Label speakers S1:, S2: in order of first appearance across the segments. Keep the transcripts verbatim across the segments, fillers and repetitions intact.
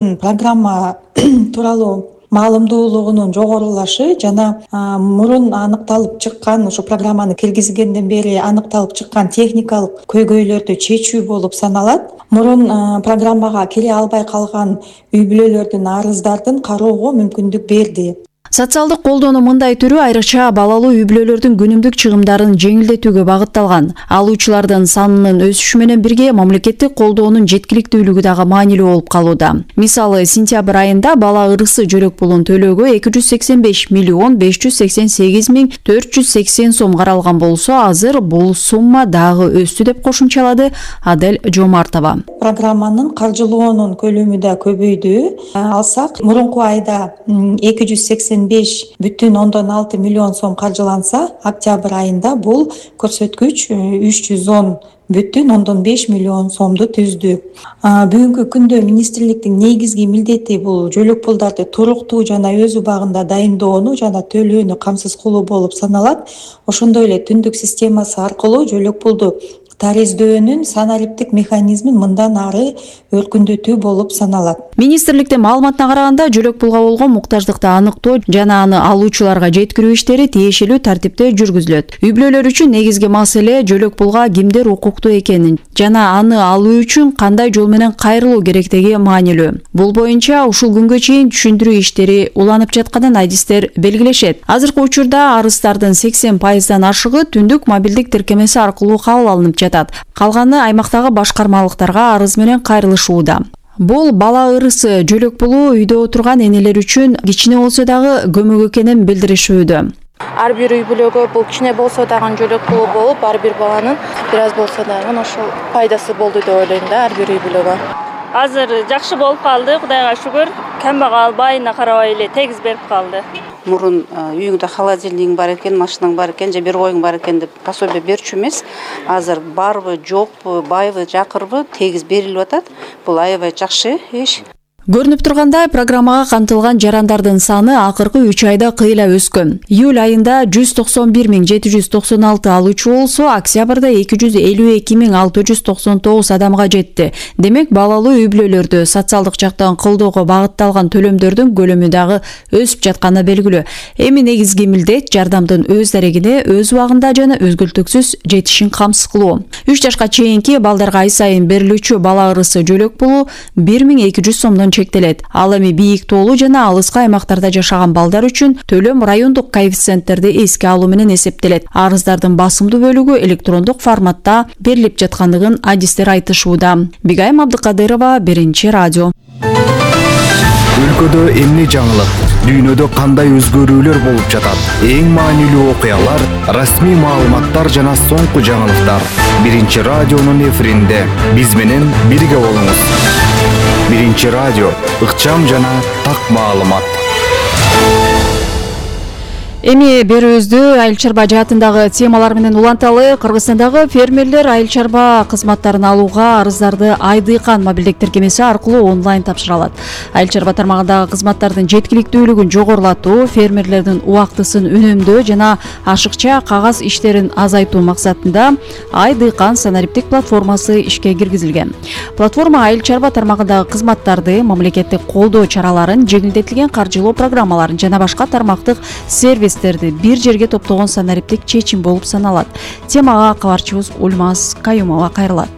S1: Программа тууралуу маалымдуулугунун жогорулашы жана мурун аныкталып чыккан ушу программаны киргизгенден бери аныкталып чыккан техникалык көйгөйлөрдү чечүү болуп саналат. Мурун программага кире албай калган үй бүлөлөрдүн арыздардын кароого мүмкүндүк берди.
S2: Социалдык колдоонун мындай түрү айрыкча балалуу үй бүлөлөрдүн күнүмдүк чыгымдарын жеңилдетүүгө багытталган. Алуучулардын санынын өсүшү менен бирге мамлекеттик колдоонун жеткиликтүүлүгү дагы маанилүү болуп калууда. Мисалы, сентябрь айында бала ырысы жөлөк пулун төлөөгө эки жүз сексен беш миллион беш жүз сексен сегиз миң төрт жүз сексен сом каралган болсо, азыр бул сумма дагы өстү деп кошумчалады Адель Жомартова.
S1: Программанын каржылоонун көлөмү да көбөйдү. Алсак, мурунку айда эки жүз сексен беш бүтүн ондон алты миллион сом каржыланса, октябрь айында бул көрсөткүч үч жүз он бүтүн ондон беш миллион сомду түздү. Бүгүнкү күндө министрликтин негизги милдети бул жөлөк пулдарды туруктуу жана өз убагында дайындоону жана төлөөнү камсыз кылуу болуп саналат. Ошондой эле түндүк системасы аркылуу жөлөк пулду тарездөөнүн санариптик механизмин мындан ары өркүндөтүү болуп саналат.
S2: Министрликтин маалыматына караганда, жөлөк пулга болгон муктаждыкты аныктоо жана аны алуучуларга жеткирүү иштери тиешелүү тартипте жүргүзүлөт. Үй бүлөлөр үчүн негизги маселе жөлөк пулга кимдер укуктуу экенин жана аны алуу үчүн кандай жол менен кайрылуу керектиги маанилүү. Бул боюнча ушул күнгө чейин түшүндүрүү иштери уланып жатканын адистер белгилешет. Азыркы учурда арыздардын сексен пайыздан ашыгы түндүк мобилдик тиркемеси аркылуу кабыл алынып жатат. Калганы аймактагы башкармалыктарга арыз менен кайрылышууда. Бул бала ырысы жөлөк пулу үйдө отурган энелер үчүн кичине болсо дагы көмөк экенин билдиришүүдө.
S3: Ар бир үй бүлөгө бул кичине болсо дагы жөлөк пулу болуп, ар бир баланын бир аз болсо дагы ошол пайдасы болду деп ойлойм да ар бир үй бүлөгө.
S4: Азыр жакшы болуп калды, Кудайга шүгүр. Камбагал байына карабай эле тегиз берип калды.
S5: Мурун үйүңдө холодильник бар экен, машинаң бар экен, же бир коюң бар экен деп пособие берчү эмес. Азыр барбы, жокпу, байбы, жакырбы тегиз берилип атат. Бул аябай жакшы иш.
S2: Көрүнүп тургандай, программага камтылган жарандардын саны акыркы үч айда кыйла өскөн. Июль айында жүз токсон бир миң жети жүз токсон алты алуучу болсо, октябрда эки жүз элүү эки миң алты жүз токсон тогуз адамга жетти. Демек, балалуу үй бүлөлөрдө социалдык жактан колдоого багытталган төлөмдөрдүн көлөмү дагы өсүп жатканы белгилүү. Эми негизги милдет жардамдын өз дарегине өз убагында жана өзгөлтүксүз жетишин камсыз кылуу. үч жашка чейинки балдарга ай сайын берилүүчү бала ырысы жөлөк пулу бир миң эки жүз сомдон чектелет. Ал эми бийик тоолуу жана алыскы аймактарда жашаган балдар үчүн төлөм райондук коэффициенттерди эске алуу менен эсептелет. Арыздардын басымдуу бөлүгү электрондук форматта берилип жаткандыгын адистер айтышууда. Бигайым Абдыкадырова, Биринчи радио.
S6: Өлкөдө эмне жаңылык, дүйнөдө кандай өзгөрүүлөр болуп жатат? Эң маанилүү окуялар, расмий маалыматтар жана соңку жаңылыктар. Биринчи радионун эфиринде биз менен бирге болуңуз. Биринчи радио, ыкчам жана так маалымат.
S2: Эми берүүбүздү айыл чарба жаатындагы темалар менен уланталы. Кыргызстандагы фермерлер айыл чарба кызматтарын алууга арыздарды Айдыйкан мобилдик тиркемеси аркылуу онлайн тапшыра алат. Айыл чарба тармагындагы кызматтардын жеткиликтүүлүгүн жогорулатуу, фермерлердин убактысын үнөмдөө жана ашыкча кагаз иштерин азайтуу максатында Айдыйкан санариптик платформасы ишке киргизилген. Платформа айыл чарба тармагындагы кызматтарды, мамлекеттик колдоо чараларын, жеңилдетилген каржылоо программаларын жана башка тармактык сервис бир жерге топтогон санариптик чечим болуп саналат. Темага кабарчыбыз Ульмаз Каюмова кайрылат.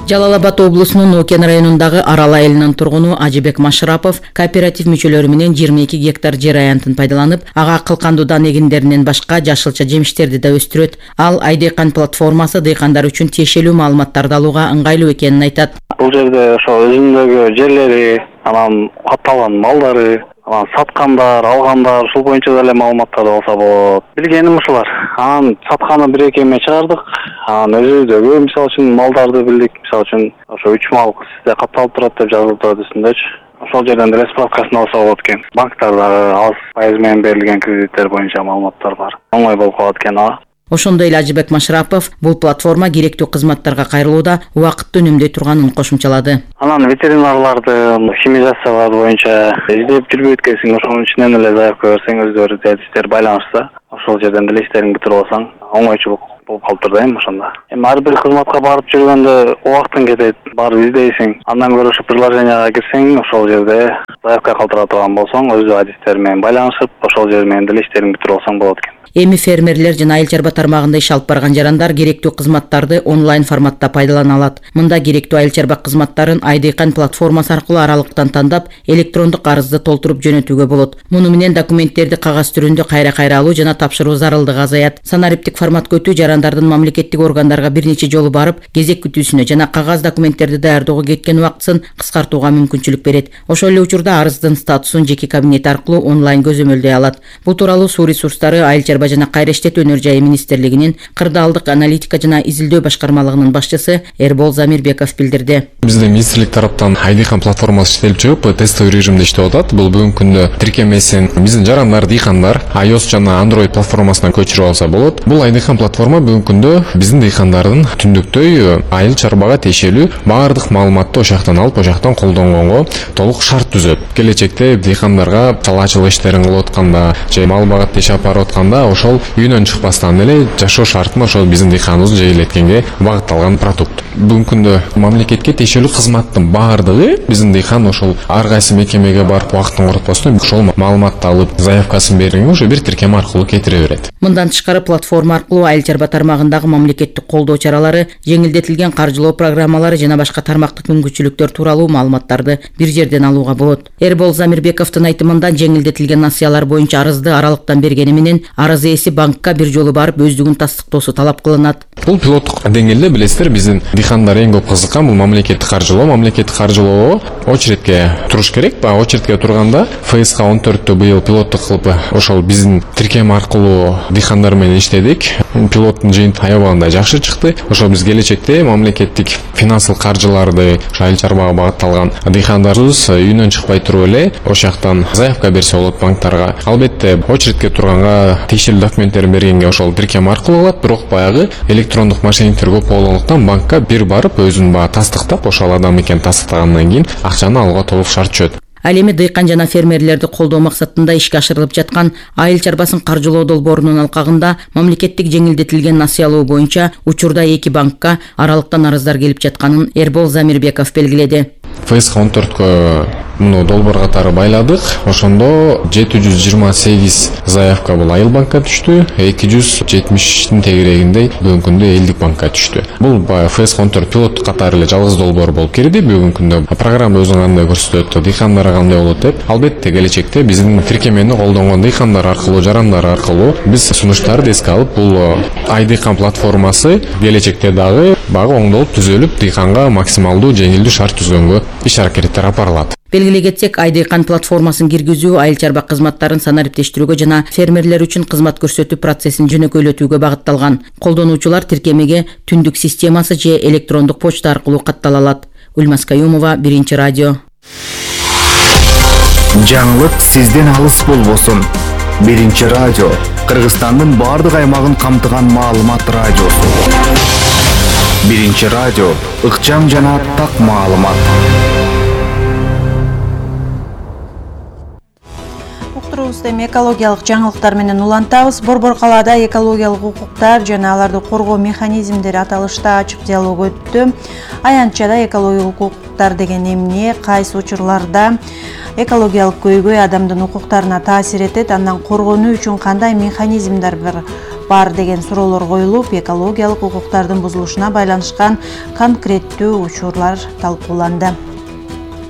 S7: Жалал Абад облусунун Окен районундагы Арал айылынын тургуну Ажибек Машрапов кооператив мүчөлөрү менен жыйырма эки гектар жер аянтын пайдаланып, ага кылкандуудан эгиндеринен башка жашылча жемиштерди да өстүрөт. Ал Айдыйкан платформасы дыйкандар үчүн тиешелүү маалыматтарды алууга ыңгайлуу экенин айтат.
S8: Бул жерде ошо өзүндөгү жерлери, анан катталган малдары, анан саткандар, алгандар, ушул боюнча деле маалыматтар болсо болот. Билгеним ушулар. Анан сатканы бир эки эме чыгардык. Анан өзүбүздөгү мисалы үчүн малдарды билдик. Мисалы үчүн ошо үч мал сизде катталып турат деп жазылып турат үстүндөчү. Ошол жерден деле справкасын алса болот экен. Банктарда аз пайыз менен берилген кредиттер боюнча маалыматтар бар. Оңой болуп калат экен ага.
S7: Ошондой эле Ажибек Машрапов бул платформа керектүү кызматтарга кайрылууда убакытты үнөмдөй турганын кошумчалады.
S8: Анан ветеринарларды, химизациялар боюнча издеп жүрбөйт экенсиң, ошонун ичинен эле заявка берсең, өздөрү адистер байланышса, ошол жерден деле иштериңди бүтүрүп алсаң, оңойчулук болуп калыптыр да эми ошондо. Эми ар бир кызматка барып жүргөндө убактың кетет, барып издейсиң. Андан көрө ушу приложенияга кирсең, ошол жерде заявка калтыра турган болсоң, өзү адистер менен байланышып, ошол жер менен деле иштериңди бүтүрүп алсаң болот экен.
S7: Эми фермерлер жана айыл чарба тармагында иш алып барган жарандар керектүү кызматтарды онлайн форматта пайдалана алат. Мында керектүү айыл чарба кызматтарын Айдыйкан платформасы аркылуу аралыктан тандап, электрондук арызды толтуруп жөнөтүүгө болот. Муну менен документтерди кагаз түрүндө кайра-кайра алуу жана тапшыруу зарылдыгы азаят. Санариптик форматка өтүү жарандардын мамлекеттик органдарга бир нече жолу барып, кезек күтүүсүнө жана кагаз документтерди даярдоого кеткен убактысын кыскартууга мүмкүнчүлүк берет. Ошол эле учурда арыздын статусун жеке кабинет аркылуу онлайн көзөмөлдөй алат. Бул тууралуу Суу ресурстары, айыл чарба жана кайра иштетүү өнөр жайы министрлигинин кырдаалдык аналитика жана изилдөө башкармалыгынын башчысы Эрбол Замирбеков билдирди.
S9: Биздин министрлик тараптан Айдыйкан платформасы иштелип чыгып, тестовый режимде иштеп атат. Бул бүгүнкү күндө тиркемесин биздин жарандар, дыйкандар iOS жана Android платформасына көчүрүп алса болот. Бул Айдыйкан платформа бүгүнкү күндө биздин дыйкандардын түндүктөй айыл чарбага тиешелүү баардык маалыматты ошол жактан алып, ошол жактан колдонгонго толук шарт түзөт. Келечекте дыйкандарга талаачылык иштерин кылып атканда же мал багат иш алып барып атканда ошол үйүнөн чыкпастан эле жашоо шартын ошол биздин дыйканыбыз жегилеткенге багытталган продукт. Бүгүнкү күндө мамлекетке тиешелүү кызматтын баардыгы биздин дыйкан ошол ар кайсы мекемеге барып убактын коротпостон ошол маалыматты алып, заявкасын бергенге уже бир тиркеме аркылуу кетире берет.
S7: Мындан тышкары платформа аркылуу айыл чарба тармагындагы мамлекеттик колдоо чаралары, жеңилдетилген каржылоо программалары жана башка тармактык мүмкүнчүлүктөр тууралуу маалыматтарды бир жерден алууга болот. Эрбол Замирбековдун айтымында жеңилдетилген насыялар боюнча арызды аралыктан бергени менен арыз ээси банкка бир жолу барып өздүгүн тастыктоосу талап кылынат.
S9: Бул пилоттук деңгээлде билесиздер, биздин дыйкандар эң көп кызыккан бул мамлекеттик каржылоо. Мамлекеттик каржылоого очередке туруш керек. Баягы очередке турганда эф эс ка он төрттө быйыл пилоттук кылып ошол биздин тиркеме аркылуу дыйкандар менен иштедик. Пилоттун жыйынтыгы аябагында жакшы чыкты. Ошол биз келечекте мамлекеттик финансылык каржыларды айыл чарбага багытталган дыйкандарыбыз үйүнөн чыкпай туруп эле ошол жактан заявка берсе болот банктарга. Албетте очередке турганга тиешелүү документтерин бергенге ошол тиркеме аркылуу болот, бирок баягы электрондук мошенниктер көп болгондуктан банкка бир барып өзүн баягы тастыктап, ошол адам экенин тастыктагандан кийин акчаны алууга толук шарт түшөт.
S7: Ал эми дыйкан жана фермерлерди колдоо максатында ишке ашырылып жаткан айыл чарбасын каржылоо долбоорунун алкагында мамлекеттик жеңилдетилген насыялоо боюнча учурда эки банкка аралыктан арыздар келип жатканын Эрбол Замирбеков белгиледи.
S9: эф эс ка он төрткө муну долбоор катары байладык. Ошондо жети жүз жыйырма сегиз заявка бул айыл банкка түштү, эки жүз жетимиштин тегерегинде бүгүнкү күндө элдик банкка түштү. Бул эф эс ка он төрт пилоттук катары эле жалгыз долбоор болуп кирди. Бүгүнкү күндө программа өзүн кандай көрсөтөт, дыйкандар кандай болот деп. Албетте келечекте биздин тиркемени колдонгон дыйкандар аркылуу, жарандар аркылуу биз сунуштарды эске алып, бул Айдыйкан платформасы келечекте дагы багы оңдолуп түзөлүп, дыйканга максималдуу жеңилдүү шарт түзгөнгө иш аракеттер апарылат.
S7: Белгилей кетсек, Айдыйкан платформасын киргизүү айыл чарба кызматтарын санариптештирүүгө жана фермерлер үчүн кызмат көрсөтүү процессин жөнөкөйлөтүүгө багытталган. Колдонуучулар тиркемеге түндүк системасы же электрондук почта аркылуу каттала алат. Ульмас Каюмова, Биринчи радио.
S6: Жаңылык сизден алыс болбосун. Биринчи радио Кыргызстандын бардык аймагын камтыган маалымат радиосу. Биринчи радио ыкчам жана так маалымат.
S10: Эми экологиялык жаңылыктар менен улантабыз. Борбор калаада экологиялык укуктар жана аларды коргоо механизмдери аталышта ачык диалог өттү. Аянтчада экологиялык укуктар деген эмне, кайсы учурларда экологиялык көйгөй адамдын укуктарына таасир этет, андан коргонуу үчүн кандай механизмдер бар деген суроолор коюлуп, экологиялык укуктардын бузулушуна байланышкан конкреттүү учурлар талкууланды.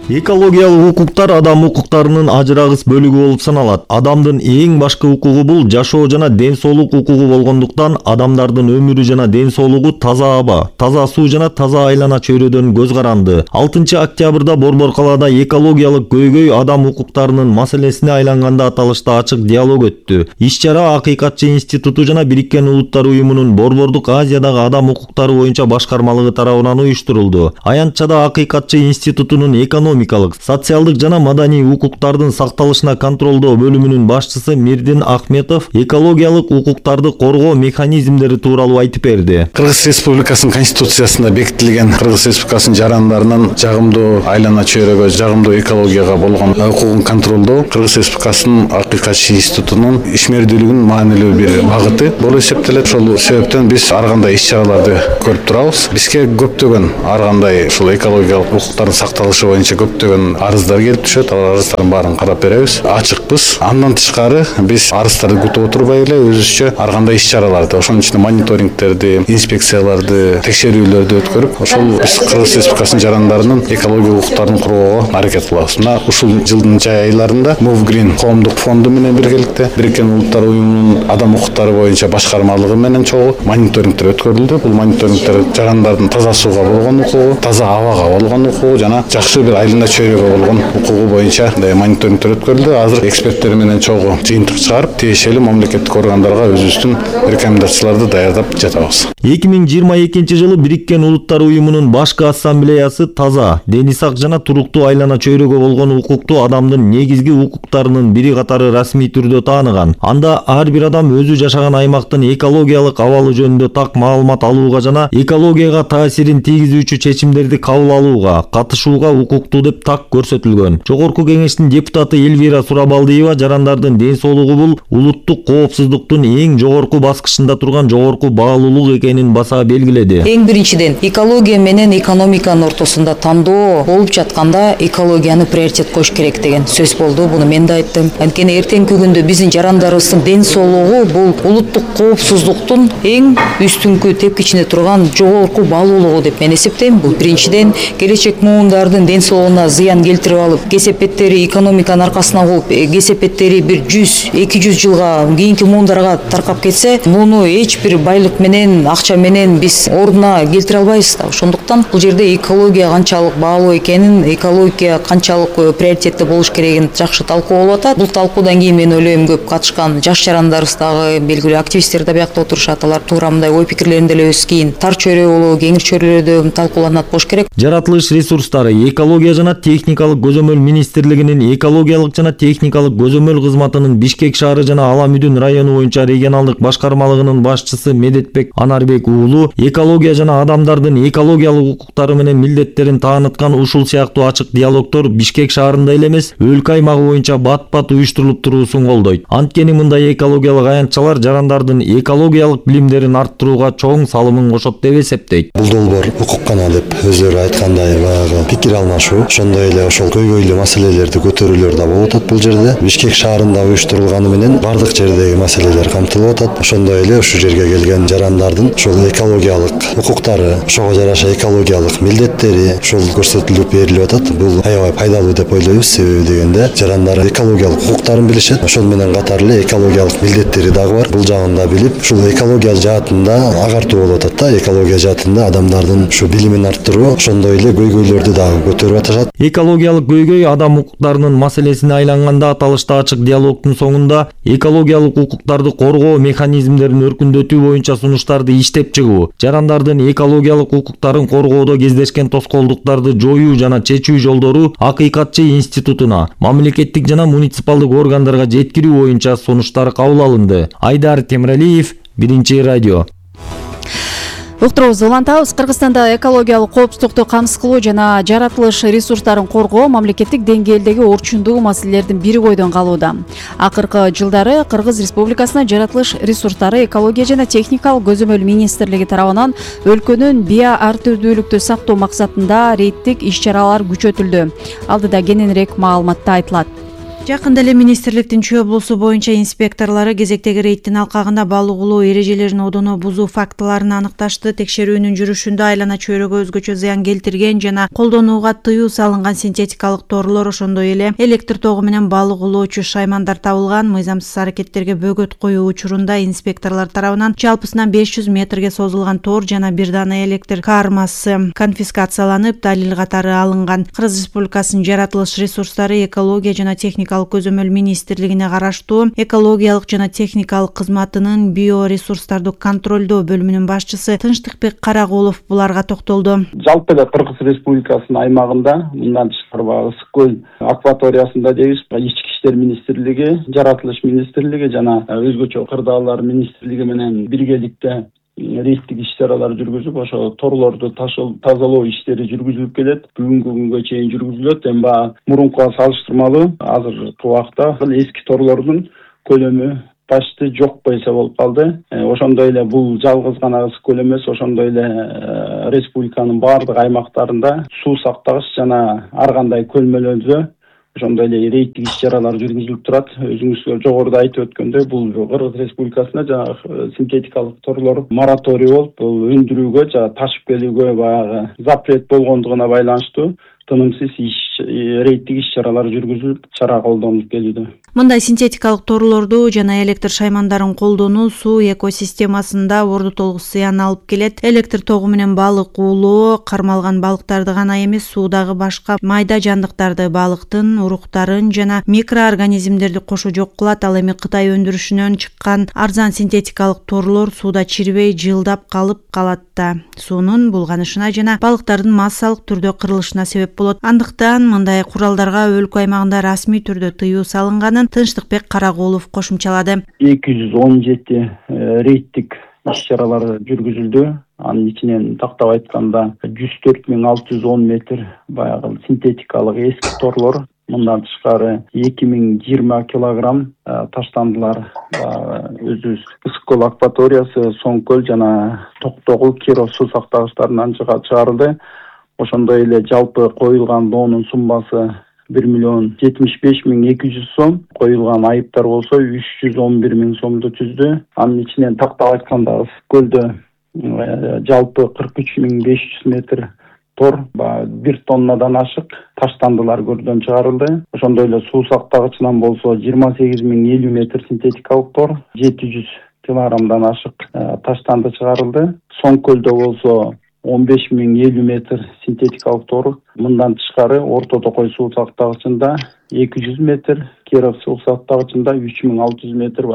S11: Экологиялык укуктар адам укуктарынын ажырагыс бөлүгү болуп саналат. Адамдын эң башкы укугу бул жашоо жана ден соолук укугу болгондуктан адамдардын өмүрү жана ден соолугу таза аба, таза суу жана таза айлана чөйрөдөн көз каранды. алтынчы октябрда Борбор калаада экологиялык көйгөй адам укуктарынын маселесине айланганда аталышта ачык диалог өттү. Иш-чара Акыйкатчы институту жана Бириккен Улуттар уюмунун Борбордук Азиядагы адам укуктары боюнча башкармалыгы тарабынан уюштурулду. Аянтчада Акыйкатчы институтунун экономия экономикалык, социалдык жана маданий укуктардын сакталышына контролдоо бөлүмүнүн башчысы Мирдин Ахметов экологиялык укуктарды коргоо механизмдери тууралуу айтып берди.
S12: Кыргыз Республикасынын конституциясында бекитилген Кыргыз Республикасынын жарандарынын жагымдуу айлана чөйрөгө, жагымдуу экологияга болгон укугун контролдоо Кыргыз Республикасынын Акыйкатчы институтунун ишмердүүлүгүнүн маанилүү бир багыты болуп эсептелет. Ошол себептен биз ар кандай иш-чараларды көрүп турабыз. Бизге көптөгөн ар кандай ушул экологиялык укуктардын сакталышы боюнча көптөгөн арыздар келип түшөт. Ал арыздардын баарын карап беребиз. Ачыкпыз. Андан тышкары биз арыздарды күтүп отурбай эле өзүбүзчө ар кандай иш-чараларды, ошонун ичинде мониторингтерди, инспекцияларды, текшерүүлөрдү өткөрүп, ошол биз Кыргыз Республикасынын жарандарынын экологиялык укуктарын коргоого аракет кылабыз. Мына ушул жылдын жай айларында Movgreen коомдук фонду менен биргеликте Бириккен Улуттар уюмунун адам укуктары боюнча башкармалыгы менен чогуу мониторингтер өткөрүлдү. Бул мониторингтер жарандардын таза сууга болгон укугу, таза абага болгон укугу жана жакшы бир айлана чөйрөгө болгон укугу боюнча мониторингтер өткөрүлдү. Азыр эксперттер менен чогуу жыйынтык чыгарып, тиешелүү мамлекеттик органдарга өзүбүздүн рекомендацияларды даярдап жатабыз.
S11: эки миң жыйырма экинчи жылы Бириккен Улуттар уюмунун башкы ассамблеясы таза, дени сак жана туруктуу айлана чөйрөгө болгон укукту адамдын негизги укуктарынын бири катары расмий түрдө тааныган. Анда ар бир адам өзү жашаган аймактын экологиялык абалы жөнүндө так маалымат алууга жана экологияга таасирин тийгизүүчү чечимдерди кабыл алууга, катышууга укуктуу деп так көрсөтүлгөн. Жогорку кеңештин депутаты Элвира Сурабалдиева жарандардын ден соолугу бул улуттук коопсуздуктун эң жогорку баскычында турган жогорку баалуулук экенин баса белгиледи.
S13: Эң биринчиден экология менен экономиканын ортосунда тандоо болуп жатканда экологияны приоритет коюш керек деген сөз болду. Буну мен да айттым. Анткени эртеңки күндө биздин жарандарыбыздын ден соолугу бул улуттук коопсуздуктун эң үстүңкү тепкичинде турган жогорку баалуулугу деп мен эсептейм. Бул биринчиден келечек муундардын ден соолугуна зыян келтирип алып, кесепеттери экономиканын аркасына болуп, кесепеттери бир жүз эки жүз жылга кийинки муундарга таркап кетсе, муну эч бир байлык менен, акча менен биз ордуна келтире албайбыз да. Ошондуктан бул жерде экология канчалык баалуу экенин, экология канчалык приоритетте болуш керегин жакшы талкуу болуп атат. Бул талкуудан кийин мен ойлойм көп катышкан жаш жарандарыбыз дагы, белгилүү активисттер да биякта отурушат. Алар туура мындай ой пикирлерин деле өз кийин тар чөйрө болобу, кеңир чөйрөлөрдө талкууланат болуш керек.
S11: Жаратылыш ресурстары, экология жана техникалык көзөмөл министрлигинин экологиялык жана техникалык көзөмөл кызматынын Бишкек шаары жана Ала Мүдүн району боюнча регионалдык башкармалыгынын башчысы Медетбек Анарбек уулу экология жана адамдардын экологиялык укуктары менен милдеттерин тааныткан ушул сыяктуу ачык диалогдор Бишкек шаарында эле эмес, өлкө аймагы боюнча бат-бат уюштурулуп туруусун колдойт. Анткени мындай экологиялык аянтчалар жарандардын экологиялык билимдерин арттырууга чоң салымын кошот деп эсептейт.
S14: Бул долбоор укук кана деп өздөрү айткандай баягы пикир алмашуу, ошондой эле ошол көйгөйлүү маселелерди көтөрүүлөр да болуп атат бул жерде. Бишкек шаарында уюштурулганы менен бардык жердеги маселелер камтылып атат. Ошондой эле ушул жерге келген жарандардын ошол экологиялык укуктары, ошого жараша экологиялык милдеттери ушул көрсөтүлүп берилип атат. Бул аябай пайдалуу деп ойлойбуз. Себеби дегенде жарандар экологиялык укуктарын билишет. Ошол менен катар эле экологиялык милдеттери дагы бар. Бул жагын да билип, ушул экология жаатында агартуу болуп атат да. Экология жаатында адамдардын ушу билимин арттыруу, ошондой эле көйгөйлөрдү дагы көтөрүп атышат.
S11: Экологиялык көйгөй адам укуктарынын маселесине айланганда аталышта ачык диалогдун соңунда экологиялык укуктарды коргоо механизмдерин өркүндөтүү боюнча сунуштарды иштеп чыгуу, жарандардын экологиялык укуктарын коргоодо кездешкен тоскоолдуктарды жоюу жана чечүү жолдору Акыйкатчы институтуна, мамлекеттик жана муниципалдык органдарга жеткирүү боюнча сунуштар кабыл алынды. Айдар Темиралиев, Биринчи радио.
S2: Уктурубузду улантабыз. Кыргызстанда экологиялык коопсуздукту камсыз кылуу жана жаратылыш ресурстарын коргоо мамлекеттик деңгээлдеги орчундуу маселелердин бири бойдон калууда. Акыркы жылдары Кыргыз Республикасына жаратылыш ресурстары, экология жана техникалык көзөмөл министрлиги тарабынан өлкөнүн био ар түрдүүлүктү сактоо максатында рейдтик иш-чаралар күчөтүлдү. Алдыда кененирээк маалыматта айтылат.
S10: Жакында эле министрликтин Чүй облусу боюнча инспекторлору кезектеги рейдтин алкагында балык улоо эрежелерин одоно бузуу фактыларын аныкташты. Текшерүүнүн жүрүшүндө айлана чөйрөгө өзгөчө зыян келтирген жана колдонууга тыюу салынган синтетикалык торлор, ошондой эле электр тогу менен балык улоочу шаймандар табылган. Мыйзамсыз аракеттерге бөгөт коюу учурунда инспекторлор тарабынан жалпысынан беш жүз метрге созулган тор жана бир дана электр кармасы конфискацияланып, далил катары алынган. Кыргыз Республикасынын жаратылыш ресурстары, экология жана техникалык экономикалык көзөмөл министрлигине караштуу экологиялык жана техникалык кызматынын биоресурстарды контролдоо бөлүмүнүн башчысы Тынчтыкбек Карагулов буларга токтолду.
S15: Жалпы эле Кыргыз Республикасынын аймагында мындан тышкары баягы Ысык көл акваториясында дейбиз, ички иштер министрлиги, жаратылыш министрлиги жана өзгөчө кырдаалар министрлиги менен биргеликте рейдтик иш-чаралар жүргүзүп, ошо торлорду тазалоо иштери жүргүзүлүп келет. Бүгүнкү күнгө чейин жүргүзүлөт. Эми баягы мурункуга салыштырмалуу азыркы убакта эски торлордун көлөмү почти жок болсо болуп калды. Ошондой эле бул жалгыз гана Ысык көл эмес, ошондой эле республиканын баардык аймактарында суу сактагыч жана ар кандай көлмөлөрдө ошондой эле рейдтик иш-чаралар жүргүзүлүп турат. Өзүңүз жогоруда айтып өткөндөй, бул Кыргыз Республикасында жанагы синтетикалык торлор мораторий болуп, бул өндүрүүгө жана ташып келүүгө баягы запрет болгондугуна байланыштуу тынымсыз иш рейдтик иш-чаралар жүргүзүлүп, чара колдонулуп келүүдө.
S10: Мындай синтетикалык торлорду жана электр шаймандарын колдонуу суу экосистемасында ордутолук зыян алып келет. Электр тогу менен балык уулоо кармалган балыктарды гана эмес, суудагы башка майда жандыктарды, балыктын уруктарын жана микроорганизмдерди кошо жок кылат. Ал эми Кытай өндүрүшүнөн чыккан арзан синтетикалык торлор сууда чирбей жылдап калып калат да. Суунун булганышына жана балыктардын массалык түрдө кырылышына себеп болот. Андыктан мындай куралдарга өлкө аймагында расмий түрдө тыюу салынганын Тынчтыкбек Карагулов кошумчалады.
S15: эки жүз он жети рейдтик иш-чаралар жүргүзүлдү. Анын ичинен тактап айтканда жүз төрт миң алты жүз он метр баягы синтетикалык эски торлор, мындан тышкары эки миң жыйырма килограмм таштандылар. Өзүбүз Ысык көл акваториясы, Соң көл жана Токтогул, Киров суу сактагычтарынан чыгарылды. Ошондой эле жалпы коюлган доонун суммасы бир миллион жетимиш беш миң эки жүз сом, коюлган айыптар болсо үч жүз он бир миң сомду түздү. Анын ичинен тактап айтканда Ысык көлдө жалпы кырк үч миң беш жүз метр тор, бир тоннадан ашык таштандылар көрдөн чыгарылды. Ошондой эле суу сактагычынан болсо жыйырма сегиз миң элүү метр синтетикалык тор, жети жүз килограммдан ашык таштанды чыгарылды. Соң көлдө болсо он беш миң элүү метр синтетикалык тор, мындан тышкары Орто Токой суу сактагычында эки жүз метр, Киров суу сактагычында үч миң алты жүз метр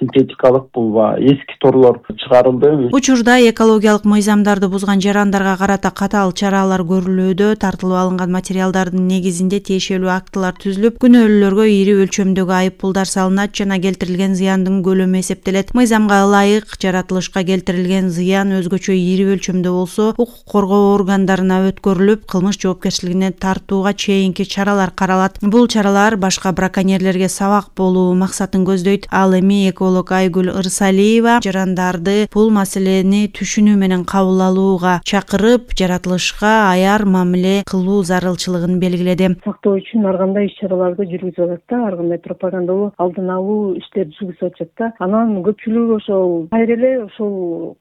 S15: синтетикалык бул эски торлор чыгарылды.
S10: Учурда экологиялык мыйзамдарды бузган жарандарга карата катаал чаралар көрүлүүдө. Тартылып алынган материалдардын негизинде тиешелүү актылар түзүлүп, күнөөлүүлөргө ири өлчөмдөгү айыппулдар салынат жана келтирилген зыяндын көлөмү эсептелет. Мыйзамга ылайык жаратылышка келтирилген зыян өзгөчө ири өлчөмдө болсо, укук коргоо органдарына өткөрүлүп, кылмыш жоопкерчилигине тартууга чейинки чаралар каралат. Бул чаралар башка браконьерлерге сабак болуу максатын көздөйт. Ал эми эколог Айгүл Ырсалиева жарандарды бул маселени түшүнүү менен кабыл алууга чакырып, жаратылышка аяр мамиле кылуу зарылчылыгын белгиледи.
S16: Сактоо үчүн ар кандай иш-чараларды жүргүзүп атат да, ар кандай пропагандалуу, алдын алуу иштерди жүргүзүп атат да. Анан көпчүлүгү ошол кайра эле ошол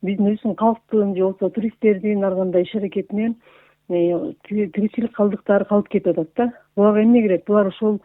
S16: биздин өзүбүздүн калктын же болбосо туристтердин ар кандай иш-аракетинен тиричилик калдыктары калып кетип атат да. Буларга эмне керек? Булар ошол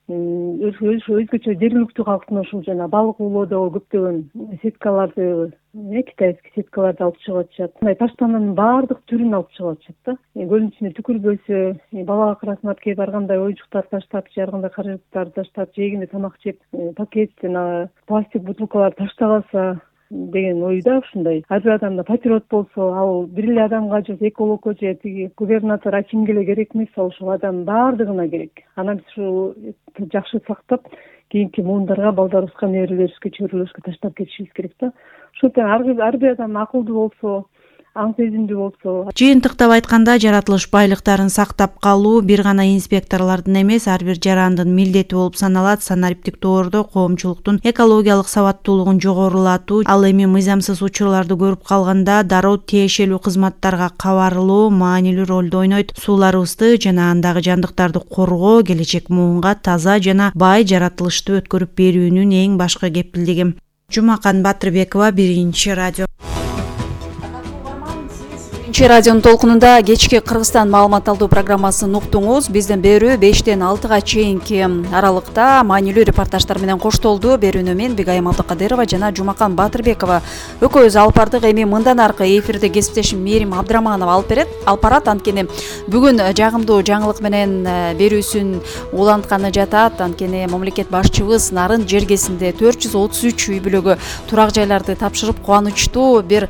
S16: өзгөчө жергиликтүү калктын ошол жана балык уулоодогу көптөгөн сеткаларды, китайский сеткаларды алып чыгып атышат. Мындай таштанданын баардык түрүн алып чыгып атышат да. Көлдүн ичине түкүрбөсө, балага карасынап келип ар кандай оюнчуктар таштап, же ар кандай каражаттарды таштап, жегенде тамак жеп, пакет жана пластик бутылкаларды таштабаса деген ойда ушундай. Ар бир адамда патриот болсо, ал бир эле адамга же экологко же тиги губернатор, акимге эле керек эмес, ал ушул адам баардыгына керек. Анан биз ушул жакшы сактап, кийинки муундарга, балдарыбызга, неберелерибизге, чөбүрөлөрүбүзгө таштап кетишибиз керек да. Ошондой ар бир адам акылдуу болсо, аң сезимдүү болсо.
S10: Жыйынтыктап айтканда, жаратылыш байлыктарын сактап калуу бир гана инспекторлордун эмес, ар бир жарандын милдети болуп саналат. Санариптик тоордо коомчулуктун экологиялык сабаттуулугун жогорулатуу, ал эми мыйзамсыз учурларды көрүп калганда дароо тиешелүү кызматтарга кабарлоо маанилүү ролду ойнойт. Сууларыбызды жана андагы жандыктарды коргоо келечек муунга таза жана бай жаратылышты өткөрүп берүүнүн эң башкы кепилдиги. Жумакан Батырбекова, Биринчи радио.
S2: биринчи радионун толкунунда кечки Кыргызстан маалымат алуу программасын уктуңуз. Бизден берүү бештен алтыга чейинки аралыкта маанилүү репортаждар менен коштолду. Берүүнү мен Бигайым Абдыкадырова жана Жумакан Батырбекова экөөбүз алып бардык. Эми мындан аркы эфирде кесиптешим Мээрим Абдыраманова алып берет. Алып барат. Анткени бүгүн жагымдуу жаңылык менен берүүсүн улантканы жатат. Анткени мамлекет башчыбыз Нарын жергесинде төрт жүз отуз үч үй бүлөгө турак жайларды тапшырып кубанычтуу бир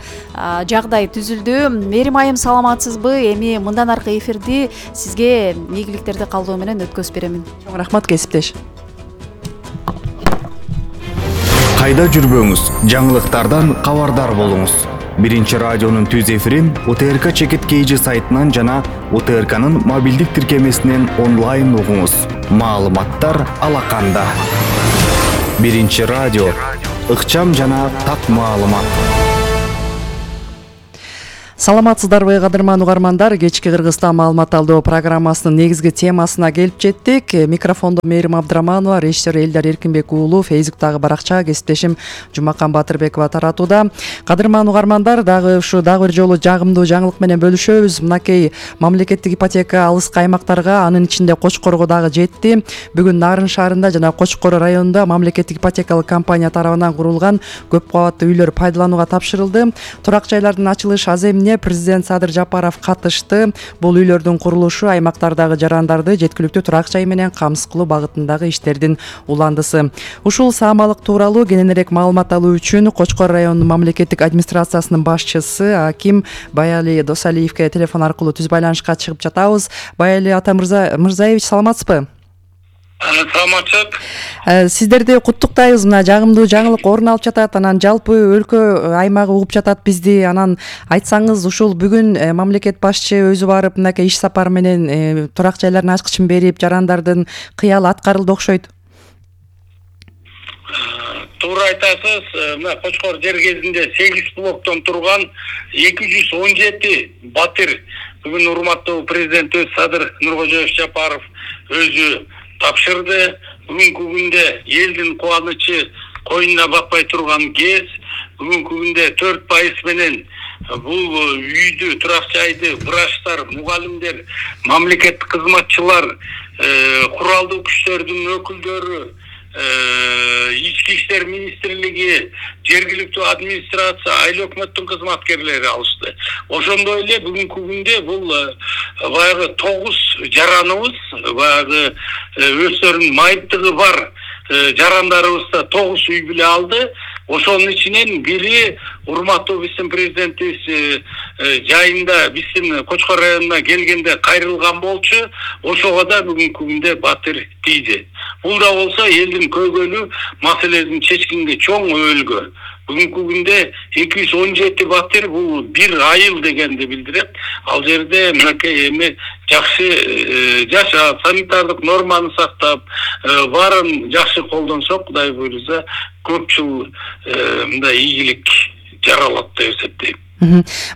S2: жагдай түзүлдү. Мээрим айым, саламатсызбы? Эми мындан аркы эфирди сизге ийгиликтерди калдоо менен өткөзүп беремин.
S17: Чоң рахмат кесиптеш.
S6: Кайда жүрбөңүз, жаңылыктардан кабардар болуңуз. Биринчи радионун түз эфирин У Т Р К Чекит Кейжи сайтынан жана У Т Р К'нын мобилдик тиркемесинен онлайн угуңуз. Маалыматтар алаканда. Биринчи радио, ыкчам жана так маалымат.
S17: Саламатсыздарбы кадырман угармандар, кечки Кыргызстан маалымат алуу программасынын негизги темасына келип жеттик. Микрофондо Мээрим Абдыраманова, режиссер Элдар Эркинбек уулу, Фейсбуктагы баракча кесиптешим Жумакан Батырбекова таратууда. Кадырман угармандар, дагы ушу дагы бир жолу жагымдуу жаңылык менен бөлүшөбүз. Мынакей мамлекеттик ипотека алыскы аймактарга, анын ичинде Кочкорго дагы жетти. Бүгүн Нарын шаарында жана Кочкор районунда мамлекеттик ипотекалык компания тарабынан курулган көп кабаттуу үйлөр пайдаланууга тапшырылды. Турак жайлардын ачылыш аземине президент Садыр Жапаров катышты. Бул үйлөрдүн курулушу аймактардагы жарандарды жеткиликтүү турак жай менен камсыз кылуу багытындагы иштердин уландысы. Ушул саамалык тууралуу кененирээк маалымат алуу үчүн Кочкор районунун мамлекеттик администрациясынын башчысы Аким Баяли Досалиевке телефон аркылуу түз байланышка чыгып жатабыз. Баяли ата Мырзаевич, саламатсызбы?
S18: Саламатчылык.
S17: Сиздерди куттуктайбыз. Мына жагымдуу жаңылык орун алып жатат. Анан жалпы өлкө аймагы угуп жатат бизди. Анан айтсаңыз, ушул бүгүн мамлекет башчы өзү барып мынакей иш сапар менен турак жайлардын ачкычын берип, жарандардын кыялы аткарылды окшойт.
S18: Туура айтасыз. Мына Кочкор жергесинде сегиз блоктон турган эки жүз он жети батир бүгүн урматтуу президентибиз Садыр Нуркожоевич Жапаров өзү тапшырды. Бүгүнкү күндө элдин кубанычы койнуна батпай турган кез. Бүгүнкү күндө төрт пайыз менен бул үйдү, турак жайды врачтар, мугалимдер, мамлекеттик кызматчылар, куралдуу күчтөрдүн өкүлдөрү, ички иштер министрлиги, жергиликтүү администрация, айыл өкмөттүн кызматкерлери алышты. Ошондой эле бүгүнкү күндө бул баягы тогуз жараныбыз, баягы өздөрүнүн майыптыгы бар жарандарыбыз да тогуз үй бүлө алды. Ошонун ичинен бири урматтуу биздин президентибиз жайында биздин Кочкор районуна келгенде кайрылган болчу. Ошого да бүгүнкү күндө батир тийди. Бул да болсо элдин көйгөйлүү маселесин чечкенге чоң өбөлгө. Бүгүнкү күндө эки жүз он жети батир, бул бир айыл дегенди билдирет. Ал жерде мынакей эми жакшы жашап, санитардык норманы сактап, баарын жакшы колдонсок, Кудай буйруса, көп жыл мындай ийгилик жаралат деп эсептейм.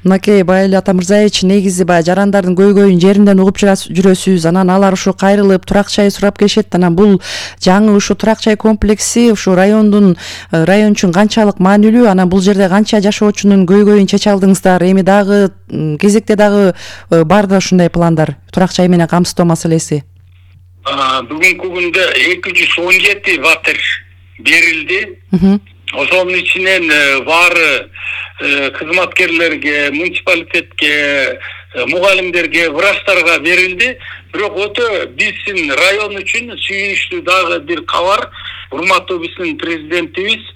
S17: Мынакей Баяли ата Мырзаевич, негизи баягы жарандардын көйгөйүн жеринден угуп жүрөсүз. Анан алар ушу кайрылып турак жай сурап келишет. Анан бул жаңы ушу турак жай комплекси ушу райондун район үчүн канчалык маанилүү? Анан бул жерде канча жашоочунун көйгөйүн чече алдыңыздар? Эми дагы кезекте дагы барда ушундай пландар, турак жай менен камсыздоо маселеси?
S18: Бүгүнкү күндө эки жүз он жети батир берилди. Ошонун ичинен баары кызматкерлерге, муниципалитетке, мугалимдерге, врачтарга берилди. Бирок өтө биздин район үчүн сүйүнүчтүү дагы бир кабар. Урматтуу биздин президентибиз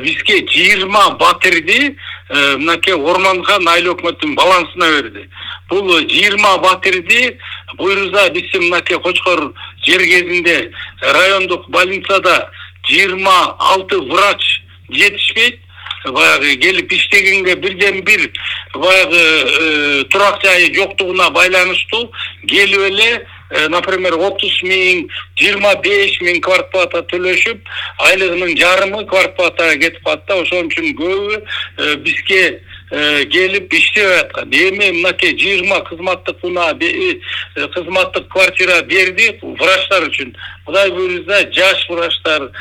S18: бизге жыйырма батирди мынакей Орманхан айыл өкмөтүнүн балансына берди. Бул жыйырма батирди буйруза биздин мынакей Кочкор жергесинде райондук больницада жыйырма алты врач жетишпейт. Баягы келип иштегенге бирден бир баягы турак жайы жоктугуна байланыштуу келип эле, например, отуз миң, жыйырма беш миң квартплата төлөшүп, айлыгынын жарымы квартплатага кетип калды. Ошон үчүн көбү бизге келип иштеп аткан. Эми мынакей жыйырма кызматтык бина, кызматтык квартира берди врачтар үчүн. Кудай буйрса жаш врачтар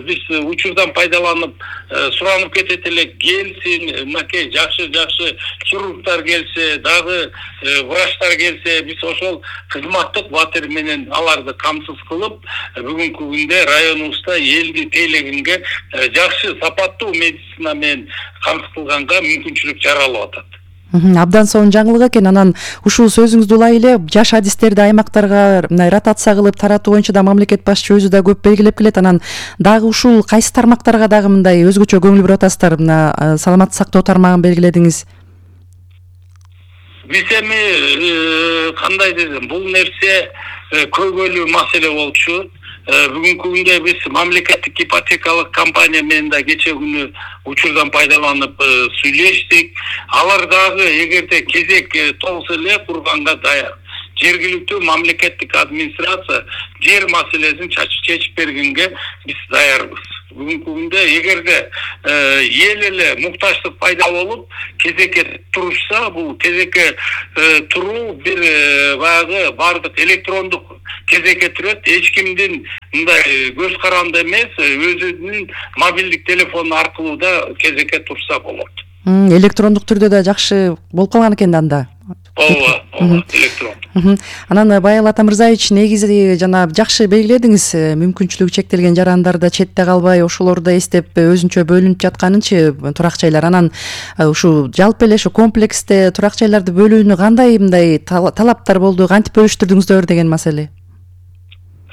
S18: биз учурдан пайдаланып суранып кетет элек, келсин, мынакей жакшы жакшы хирургдар келсе, дагы врачтар келсе, биз ошол кызматтык батир менен аларды камсыз кылып, бүгүнкү күндө районубузда элди тейлегенге жакшы сапаттуу медицина менен камсыз кылганга мүмкүнчүлүк жаралып атат.
S17: Абдан сонун жаңылык экен. Анан ушул сөзүңүздү улай эле жаш адистерди аймактарга мындай ротация кылып таратуу боюнча да мамлекет башчы өзү да көп белгилеп келет. Анан дагы ушул кайсы тармактарга дагы мындай өзгөчө көңүл буруп атасыздар? Мына саламаттык сактоо тармагын белгиледиңиз.
S18: Биз эми кандай десем, бул нерсе көйгөйлүү маселе болчу. Бүгүнкү күндө биз мамлекеттик ипотекалык компания менен да кече күнү учурдан пайдаланып сүйлөштүк. Алар дагы эгерде кезек толсо эле курганга даяр. Жергиликтүү мамлекеттик администрация жер маселесин чечип бергенге биз даярбыз. Бүгүнкү күндө эгерде эл эле муктаждык пайда болуп кезекке турушса, бул кезекке туруу бир баягы бардык электрондук кезекке турат. Эч кимдин мындай көз каранды эмес, өзүнүн мобилдик телефону аркылуу да кезекке турса болот.
S17: Электрондук түрдө да жакшы болуп калган экен да анда.
S18: Ооба, ооба, электрон.
S17: Анан Байал Атамырзаевич, негизи жана жакшы белгиледиңиз, мүмкүнчүлүгү чектелген жарандарда четте калбай, ошолорду эстеп өзүнчө бөлүнүп жатканынчы турак жайлар. Анан ушу жалпы эле ушу комплексте турак жайларды бөлүүнү кандай мындай талаптар болду, кантип бөлүштүрдүңүздөр деген маселе?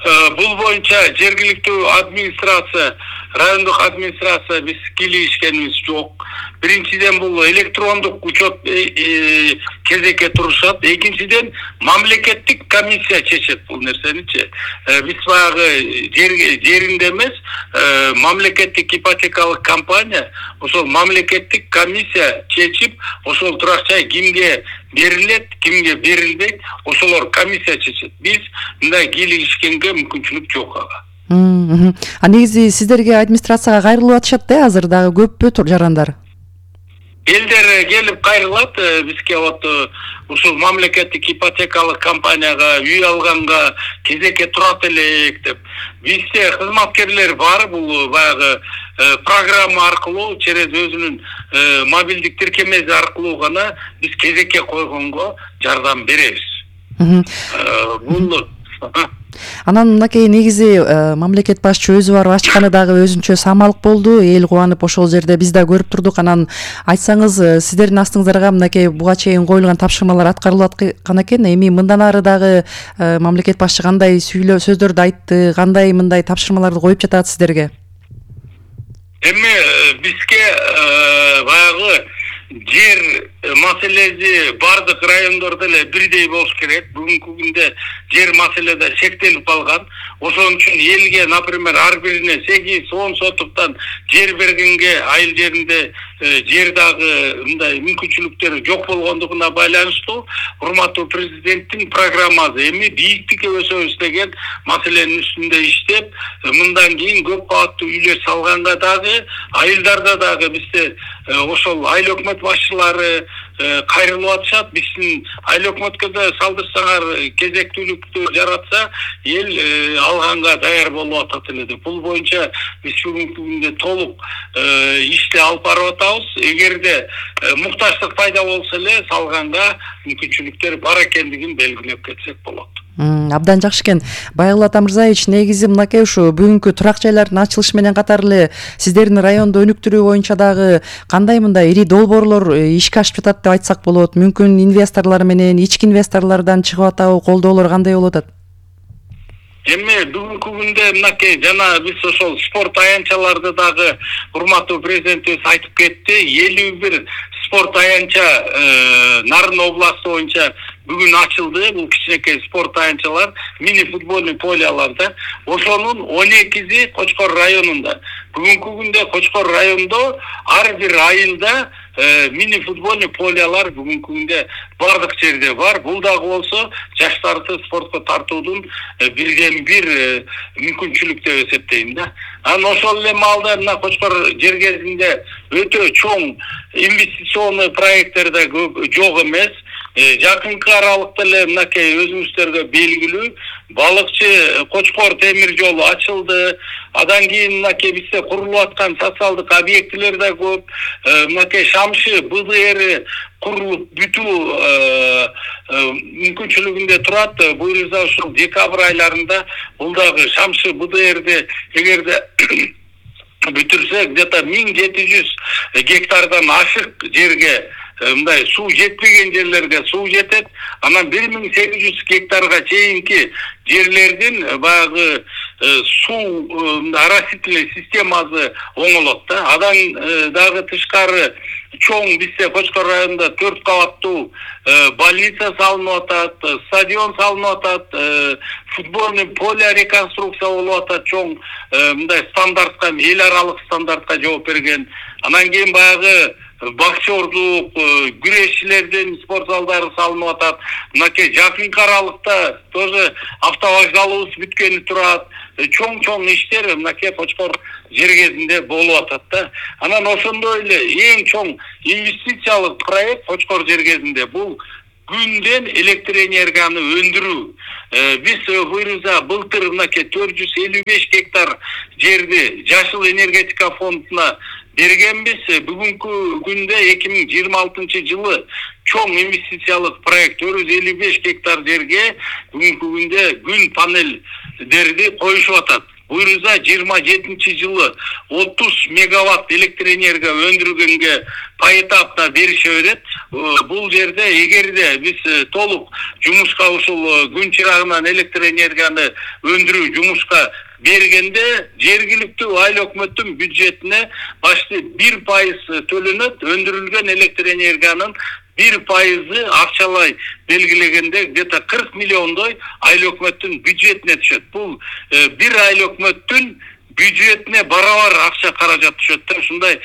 S18: Бул боюнча жергиликтүү администрация, райондук администрация биз кийлигишкенибиз жок. Биринчиден бул электрондук учет кезекке турушат. Экинчиден мамлекеттик комиссия чечет бул нерсеничи. Биз баягы жеринде эмес, мамлекеттик ипотекалык компания, ошол мамлекеттик комиссия чечип, ошол турак жай кимге берилет, кимге берилбейт, ошолор комиссия чечет. Биз мындай кийлигишкенге мүмкүнчүлүк жок ага.
S17: А негизи сиздерге администрацияга кайрылып атышат да, азыр дагы көппү жарандар?
S18: Элдер келип кайрылат бизге, вот ушул мамлекеттик ипотекалык компанияга үй алганга кезекке турат элек деп. Бизде кызматкерлер бар, бул баягы программа аркылуу, через өзүнүн мобилдик тиркемеси аркылуу гана биз кезекке койгонго жардам беребиз. Бул
S17: Анан мынакей негизи мамлекет башчы өзү барып ачканы дагы өзүнчө самалык болду. Эл кубанып ошол жерде биз да көрүп турдук. Анан айтсаңыз, сиздердин астыңыздарга мынакей буга чейин коюлган тапшырмалар аткарылып аткан экен. Эми мындан ары дагы мамлекет башчы кандай сүйлөө сөздөрдү айтты, кандай мындай тапшырмаларды коюп жатат сиздерге?
S18: Эми бизге баягы жер маселеси бардык райондордо эле бирдей болуш керек. Бүгүнкү күндө жер маселеде чектелип калган. Ошон үчүн элге, например, ар бирине сегиз он сотуктан жер бергенге айыл жеринде жер дагы мындай мүмкүнчүлүктөр жок болгондугуна байланыштуу урматтуу президенттин программасы эми бийиктикке өсөбүз деген маселенин үстүндө иштеп, мындан кийин көп кабаттуу үйлөр салганга дагы, айылдарда дагы бизде ошол айыл өкмөт башчылары кайрылып атышат. Биздин айыл өкмөткө да салдырсаңар, кезектүүлүктү жаратса, эл алганга даяр болуп атат эле деп. Бул боюнча биз бүгүнкү күндө толук ишти алып барып атабыз. Эгерде муктаждык пайда болсо эле салганга мүмкүнчүлүктөр бар экендигин белгилеп кетсек болот.
S17: Абдан жакшы экен. Байал Атамырзаевич, негизи мынакей ушу бүгүнкү турак жайлардын ачылышы менен катар эле сиздердин районду өнүктүрүү боюнча дагы кандай мындай ири долбоорлор ишке ашып жатат деп айтсак болот? Мүмкүн инвесторлор менен, ички инвесторлордон чыгып атабы, колдоолор кандай болуп атат?
S18: Эми бүгүнкү күндө мынакей жана биз ошол спорт аянтчаларды дагы урматтуу президентибиз айтып кетти. элүү бир спорт аянтча Нарын областы боюнча бүгүн ачылды. Бул кичинекей спорт аянтчалар, мини футбольный поляларда. Ошонун он экиси Кочкор районунда. Бүгүнкү күндө Кочкор райондо ар бир айылда мини футбольный полялар бүгүнкү күндө бардык жерде бар. Бул дагы болсо жаштарды спортко тартуудун бирден бир мүмкүнчүлүк деп эсептейм да. Анан ошол эле маалда мына Кочкор жергесинде өтө чоң инвестиционный проекттер да жок эмес. жакынкы аралыкта эле мынакей өзүңүздөргө белгилүү балыкчы Кочкор темир жолу ачылды. Адан кийин мынакей бизде курулуп аткан социалдык объектилер да көп. Мынакей Шамшы бэ дэ эр курулуп бүтүү мүмкүнчүлүгүндө турат. Буюрса ушул декабрь айларында бул дагы Шамшы бэ дэ эрди эгерде бүтүрсөк где-то миң жети жүз гектардан ашык жерге мындай суу жетпеген жерлерге суу жетет. Анан бир миң сегиз жүз гектарга чейинки жерлердин баягы суу оросительный системасы оңолот да. Адан дагы тышкары чоң бизде Кочкор районунда төрт кабаттуу больница салынып атат, стадион салынып атат, футбольный поле реконструкция болуп атат, чоң мындай стандартка, эл аралык стандартка жооп берген. Анан кийин баягы боксердук, күрөшчүлөрдүн спорт залдары салынып атат. Мынакей жакынкы аралыкта тоже автовокзалыбыз бүткөнү турат. Чоң-чоң иштер мынакей Кочкор жергезинде болуп атат да. Анан ошондой эле эң чоң инвестициялык проект Кочкор жергезинде бул күндөн электр энергияны өндүрүү. Биз буюрса былтыр мынакей төрт жүз элүү беш гектар жерди Жашыл энергетика фондуна бергенбиз. Бүгүнкү күндө эки миң жыйырма алтынчы жылы чоң инвестициялык проект төрт жүз элүү беш гектар жерге бүгүнкү күндө күн панелдерди коюшуп атат. Буюрса жыйырма жетинчи жылы отуз мегаватт электр энергия өндүргөнгө поэтапта берише берет. Бул жерде эгерде биз толук жумушка ушул күн чырагынан электр энергияны өндүрүү жумушка бергенде жергиликтүү айыл өкмөттүн бюджетине башты бир пайыз төлөнөт. Өндүрүлгөн электр энергиянын бир пайызы акчалай белгилегенде где-то кырк миллиондой айыл өкмөттүн бюджетине түшөт. Бул бир айыл өкмөттүн бюджетине барабар акча каражат түшөт. Ушундай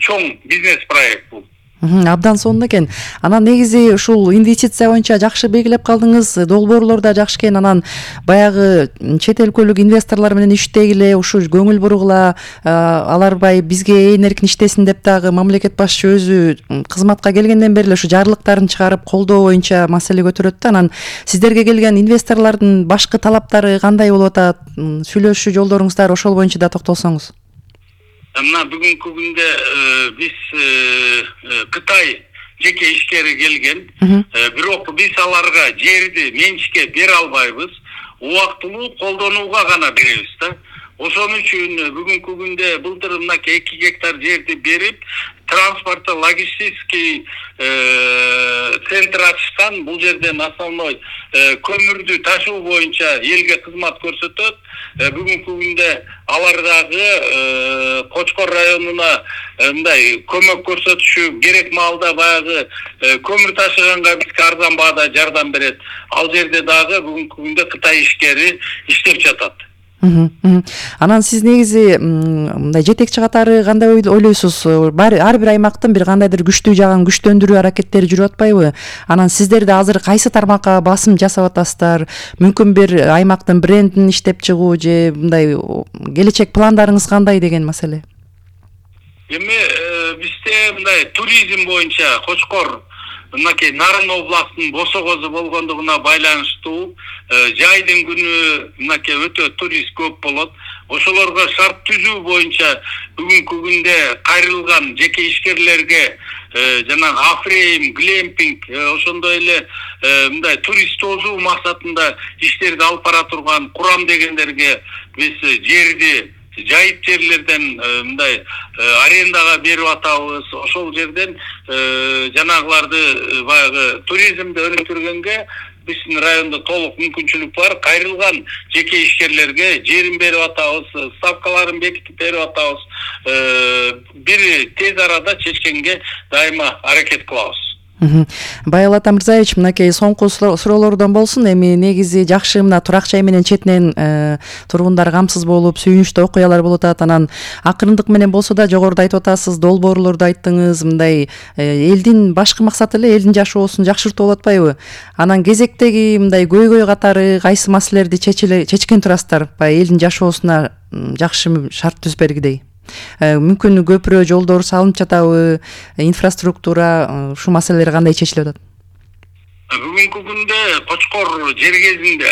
S18: чоң бизнес проект бул.
S17: Абдан сонун экен. Анан негизи ушул инвестиция боюнча жакшы белгилеп калдыңыз, долбоорлор да жакшы экен. Анан баягы чет өлкөлүк инвесторлор менен иштегиле, ушу көңүл буругула, алар бай бизге ээн эркин иштесин деп дагы мамлекет башчы өзү кызматка келгенден бери эле ушу жарлыктарын чыгарып колдоо боюнча маселе көтөрөт да. Анан сиздерге келген инвесторлордун башкы талаптары кандай болуп атат? Сүйлөшүү жолдоруңуздар ошол боюнча да токтолсоңуз.
S18: Мына бүгүнкү күндө биз Кытай жеке ишкери келген. Бирок биз аларга жерди менчикке бере албайбыз. Убактылуу колдонууга гана беребиз да. Ошон үчүн бүгүнкү күндө былтыр мынакей эки гектар жерди берип, транспортто логистический центр ачышкан. Бул жерден основной көмүрдү ташуу боюнча элге кызмат көрсөтөт. Бүгүнкү күндө алар дагы Кочкор районуна мындай көмөк көрсөтүшү керек маалда баягы көмүр ташыганга бизге арзан баада жардам берет. Ал жерде дагы бүгүнкү күндө Кытай ишкери иштеп жатат.
S17: Анан сиз негизи мындай жетекчи катары кандай ойлойсуз? Ар бир аймактын бир кандайдыр күчтүү жагын күчтөндүрүү аракеттери жүрүп атпайбы? Анан сиздер да азыр кайсы тармакка басым жасап атасыздар? Мүмкүн бир аймактын брендин иштеп чыгуу же мындай келечек пландарыңыз кандай деген маселе?
S18: Эми бизде мындай туризм боюнча Кочкор мынакей Нарын областынын босогозу болгондугуна байланыштуу жайдын күнү мынакей өтө турист көп болот. Ошолорго шарт түзүү боюнча бүгүнкү күндө кайрылган жеке ишкерлерге жанагы афрейм, глемпинг, ошондой эле мындай турист тосуу максатында иштерди алып бара турган Курам дегендерге биз жерди жайыт жерлерден мындай арендага берип атабыз. Ошол жерден жанагыларды баягы туризмди өнүктүргөнгө биздин райондо толук мүмкүнчүлүк бар. Кайрылган жеке ишкерлерге жерин берип атабыз, ставкаларын бекитип берип атабыз. Бир тез арада чечкенге дайыма аракет кылабыз.
S17: Байыл Атамырзаевич, мынакей соңку суроолордон болсун. Эми негизи жакшы мына турак жай менен четинен тургундар камсыз болуп, сүйүнүчтүү окуялар болуп атат. Анан акырындык менен болсо да жогоруда айтып атасыз, долбоорлорду айттыңыз. Мындай элдин башкы максаты эле элдин жашоосун жакшыртуу болуп атпайбы? Анан кезектеги мындай көйгөй катары кайсы маселелерди чечкен турасыздар? Баягы элдин жашоосуна жакшы шарт түзбергидей. Мүмкүн көпүрө жолдор салынып жатабы, инфраструктура, ушу маселелер кандай чечилип атат?
S18: бүгүнкү күндө Кочкор жергезинде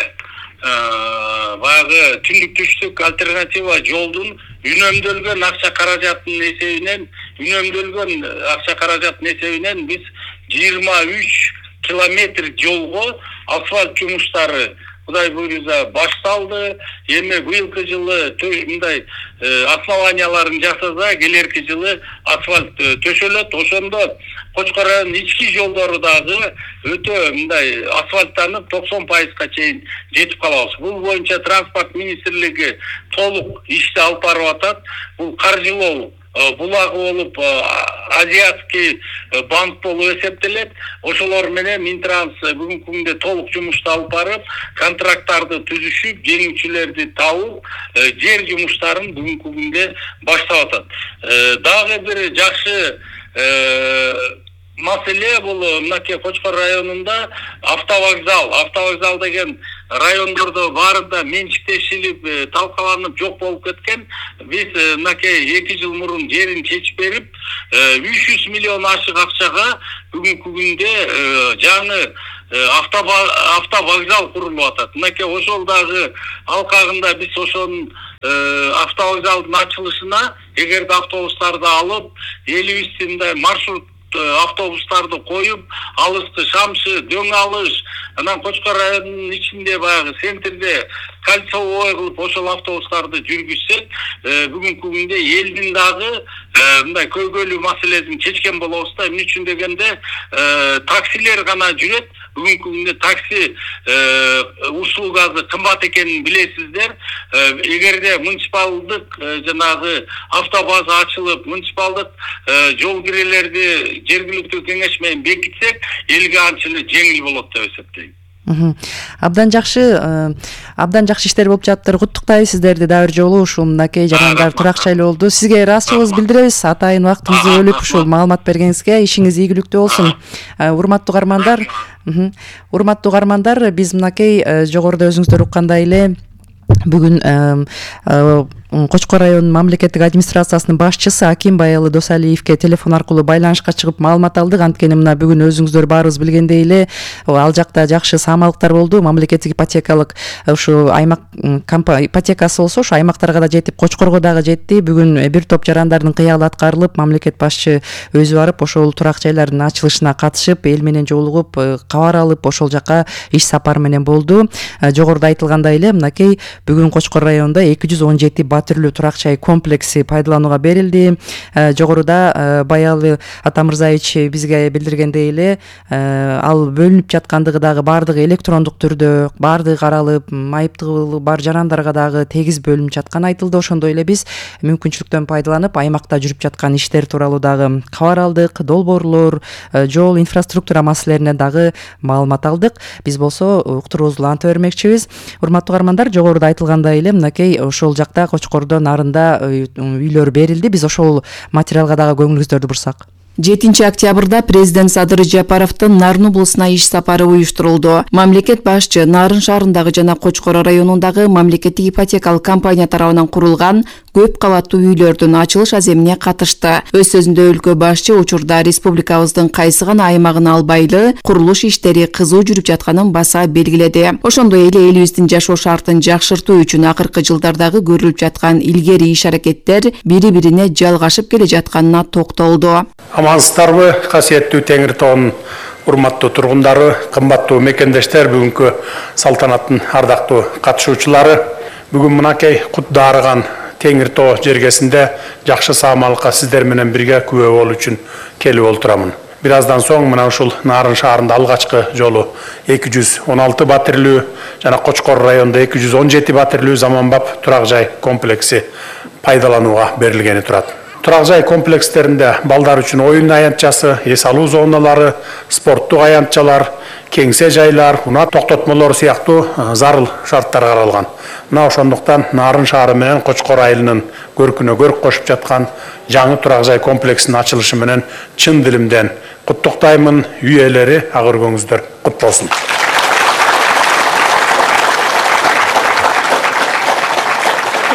S18: баягы түндүк түштүк альтернатива жолдун үнөмдөлгөн акча каражатынын эсебинен үнөмдөлгөн акча каражатынын эсебинен биз жыйырма үч километр жолго асфальт жумуштары Кудай буйрса башталды. Эми быйылкы жылы мындай основанияларын жасаса, келерки жылы асфальт төшөлөт. Ошондо Кочкор районунун ички жолдору дагы өтө мындай асфальттанып токсон пайызга чейин жетип калабыз. Бул боюнча транспорт министрлиги толук ишти алып барып атат. Бул каржылоо булагы болуп азиатский банк болуп эсептелет. Ошолор менен Минтранс бүгүнкү күндө толук жумушту алып барып, контракттарды түзүшүп, жеңүүчүлөрдү табып, жер жумуштарын бүгүнкү күндө баштап атат. Дагы бир жакшы маселе бул мынакей Кочкор районунда автовокзал. Автовокзал деген райондордо баарында менчиктешилип, талкаланып жок болуп кеткен. Биз мынакей эки жыл мурун жерин чечип берип, үч жүз миллион ашык акчага бүгүнкү күндө жаңы автовокзал курулуп атат. Мынакей ошол дагы алкагында биз ошонун автовокзалдын ачылышына эгерде автобустарды алып, элибиздин маршрут автобустарды коюп, алысты Шамшы, Дөң алыш, анан Кочкор районунун ичинде баягы центрде кольцевой кылып ошол автобустарды жүргүзсек, бүгүнкү күндө элдин дагы мындай көйгөйлүү маселесин чечкен болобуз да. Эмне үчүн дегенде, таксилер гана жүрөт. Бүгүнкү күндө такси услугасы кымбат экенин билесиздер. Эгерде муниципалдык жанагы автобаза ачылып, муниципалдык жол кирелерди жергиликтүү кеңеш менен бекитсек, элге анча эле жеңил болот деп эсептейм.
S17: Абдан жакшы, абдан жакшы иштер болуп жатыр. Куттуктайбыз сиздерди дагы бир жолу ушул мынакей жарандар турак жайлуу болду. Сизге ыраазычылыгыбызды билдиребиз. Атайын убактыңызды бөлүп ушул маалымат бергениңизге. Ишиңиз ийгиликтүү болсун. Урматтуу угармандар, урматтуу угармандар, биз мынакей жогоруда өзүңүздөр уккандай эле бүгүн Кочкор районунун мамлекеттик администрациясынын башчысы Аким Баялы Досалиевке телефон аркылуу байланышка чыгып маалымат алдык. Анткени мына бүгүн өзүңүздөр баарыбыз билгендей эле ал жакта жакшы саамалыктар болду. Мамлекеттик ипотекалык ушу аймак ипотекасы болсо ушу аймактарга да жетип, Кочкорго дагы жетти. Бүгүн бир топ жарандардын кыялы аткарылып, мамлекет башчы өзү барып ошол турак жайлардын ачылышына катышып, эл менен жолугуп, кабар алып, ошол жака иш сапар менен болду. Жогоруда айтылгандай эле мынакей бүгүн Кочкор районунда эки жүз он жети батирлүү турак жай комплекси пайдаланууга берилди. Жогоруда Баялы Атамырзаевич бизге билдиргендей эле ал бөлүнүп жаткандыгы дагы баардыгы электрондук түрдө, баардыгы каралып, айыптуу бар жарандарга дагы тегиз бөлүнүп жатканы айтылды. Ошондой эле биз мүмкүнчүлүктөн пайдаланып аймакта жүрүп жаткан иштер тууралуу дагы кабар алдык. Долбоорлор, жол, инфраструктура маселелерине дагы маалымат алдык. Биз болсо уктуруубузду уланта бермекчибиз. Урматтуу угармандар, жогоруда айтылгандай эле мынакей ошол жакта Кочкордо нарында үйлөр берилди. Биз ошол материалга дагы көңүлүңүздөрдү бурсак.
S2: жетинчи октябрда президент Садыр Жапаровдун Нарын облусуна иш сапары уюштурулду. Мамлекет башчы Нарын шаарындагы жана Кочкор районундагы мамлекеттик ипотекалык компания тарабынан курулган көп кабаттуу үйлөрдүн ачылыш аземине катышты. Өз сөзүндө өлкө башчы учурда республикабыздын кайсы гана аймагын албайлы курулуш иштери кызуу жүрүп жатканын баса белгиледи. Ошондой эле элибиздин жашоо шартын жакшыртуу үчүн акыркы жылдардагы көрүлүп жаткан илгери иш-аракеттер бири-бирине жалгашып келе жатканына токтолду.
S19: Амансыздарбы, касиеттүү Теңир тоонун урматтуу тургундары, кымбаттуу мекендештер, бүгүнкү салтанаттын ардактуу катышуучулары. Бүгүн мынакей кут дарыган Теңир тоо жергесинде жакшы саамалыкка сиздер менен бирге күбө болуу үчүн келип олтурамын. Бир аздан соң мына ушул Нарын шаарында алгачкы жолу эки жүз он алты батирлүү жана Кочкор районунда эки жүз он жети батирлүү заманбап турак жай комплекси пайдаланууга берилгени турат. Турак жай комплекстеринде балдар үчүн оюн аянтчасы, эс алуу зоналары, спорттук аянтчалар, кеңсе жайлар, унаа токтотмолор сыяктуу зарыл шарттар каралган. Мына ошондуктан Нарын шаары менен Кочкор айылынын көркүнө көрк кошуп жаткан жаңы турак жай комплексинин ачылышы менен чын дилимден куттуктаймын. Үй ээлери, ак өргөңүздөр кут болсун.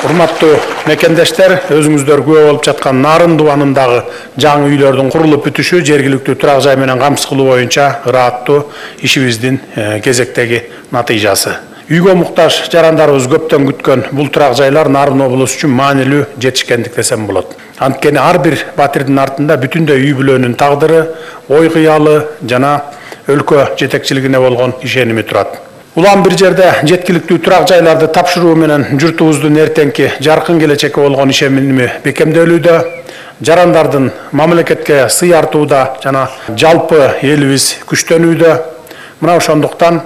S19: Урматтуу мекендештер, өзүңүздөр күбө болуп жаткан Нарын дубанындагы жаңы үйлөрдүн курулуп бүтүшү жергиликтүү турак жай менен камсыз кылуу боюнча ырааттуу ишибиздин кезектеги натыйжасы. Үйгө муктаж жарандарыбыз көптөн күткөн бул турак жайлар Нарын облусу үчүн маанилүү жетишкендик десем болот. Анткени ар бир батирдин артында бүтүндөй үй бүлөнүн тагдыры, ой кыялы жана өлкө жетекчилигине болгон ишеними турат. Улам бир жерде жеткиликтүү турак жайларды тапшыруу менен журтубуздун эртеңки жаркын келечекке болгон ишеними бекемделүүдө, жарандардын мамлекетке сый артууда жана жалпы элибиз күчтөнүүдө. Мына ошондуктан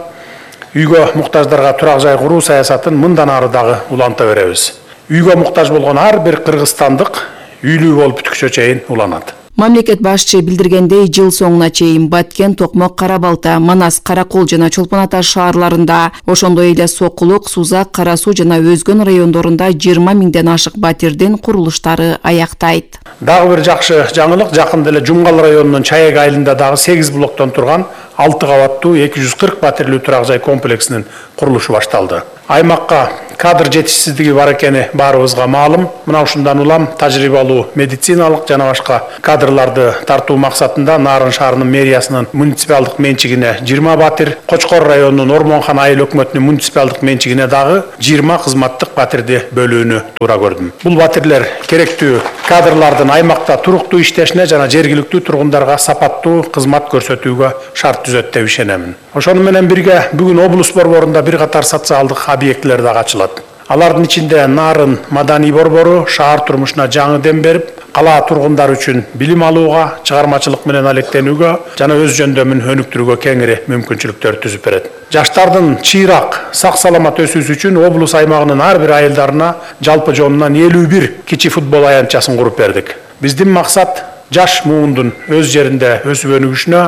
S19: үйгө муктаждарга турак жай куруу саясатын мындан ары дагы уланта беребиз. Үйгө муктаж болгон ар бир кыргызстандык үйлүү болуп бүткүчө чейин уланат.
S2: Мамлекет башчы билдиргендей, жыл соңуна чейин Баткен, Токмок, Кара Балта, Манас, Каракол жана Чолпон Ата шаарларында, ошондой эле Сокулук, Сузак, Кара Суу жана өзгөн райондорунда жыйырма миңден ашык батирдин курулуштары аяктайт.
S19: Дагы бир жакшы жаңылык, жакында эле Жумгал районунун Чаек айылында дагы сегиз блоктон турган алты кабаттуу эки жүз кырк батирлүү турак жай комплексинин курулушу башталды. Аймакка кадр жетишсиздиги бар экени баарыбызга маалым. Мына ушундан улам тажрыйбалуу медициналык жана башка кадрларды тартуу максатында Нарын шаарынын мэриясынын муниципалдык менчигине жыйырма батир, Кочкор районунун Ормонхан айыл өкмөтүнүн муниципалдык менчигине дагы жыйырма кызматтык батирди бөлүүнү туура көрдүм. Бул батирлер керектүү кадрлардын аймакта туруктуу иштешине жана жергиликтүү тургундарга сапаттуу кызмат көрсөтүүгө шарт түзөт деп ишенемин. Ошону менен бирге бүгүн облус борборунда бир катар социалдык объектилер дагы ачылат. Алардын ичинде Нарын маданий борбору шаар турмушуна жаңы дем берип, кала тургундары үчүн билим алууга, чыгармачылык менен алектенүүгө жана өз жөндөмүн өнүктүрүүгө кеңири мүмкүнчүлүктөр түзүп берет. Жаштардын чыйрак, сак саламат өсүүсү үчүн облус аймагынын ар бир айылдарына жалпы жонунан элүү бир кичи футбол аянтчасын куруп бердик. Биздин максат жаш муундун өз жеринде өсүп өнүгүшүнө,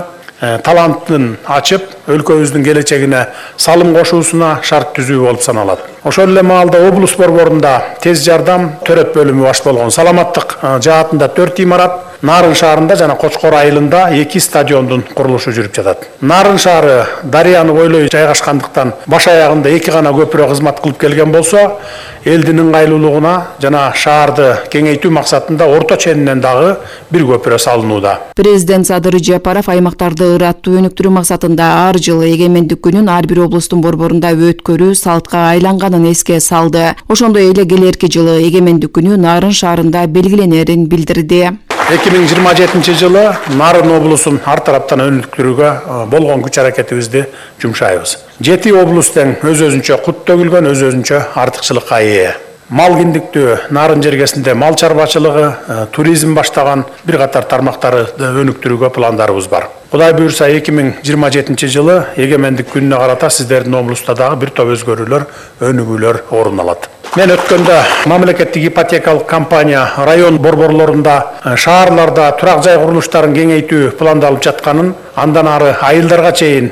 S19: талантын ачып, өлкөбүздүн келечегине салым кошуусуна шарт түзүү болуп саналат. Ошол эле маалда облус борборунда тез жардам төрөт бөлүмү баш болгон саламаттык жаатында төрт имарат, Нарын шаарында жана Кочкор айылында эки стадиондун курулушу жүрүп жатат. Нарын шаары дарыяны бойлой жайгашкандыктан баш аягында эки гана көпүрө кызмат кылып келген болсо, элдин ыңгайлуулугуна жана шаарды кеңейтүү максатында орто ченинен дагы бир көпүрө салынууда.
S2: Президент Садыр Жапаров аймактарды ыраттуу өнүктүрүү максатында ар жылы эгемендик күнүн ар бир облустун борборунда өткөрүү салтка айланганын эске салды. Ошондой эле келерки жылы эгемендик күнү Нарын шаарында белгиленерин билдирди.
S19: эки миң жыйырма жетинчи жылы Нарын облусун ар тараптан өнүктүрүүгө болгон күч аракетибизди жумшайбыз. Жети облус тең өз өзүнчө кут төгүлгөн, өз өзүнчө артыкчылыкка ээ. Мал киндиктүү Нарын жергесинде мал чарбачылыгы, туризм баштаган бир катар тармактарды өнүктүрүүгө пландарыбыз бар. Кудай буюрса эки миң жыйырма жетинчи жылы эгемендик күнүнө карата сиздердин облуста дагы бир топ өзгөрүүлөр, өнүгүүлөр орун алат. Мен өткөндө мамлекеттик ипотекалык компания район борборлорунда, шаарларда турак жай курулуштарын кеңейтүү пландалып жатканын, андан ары айылдарга чейин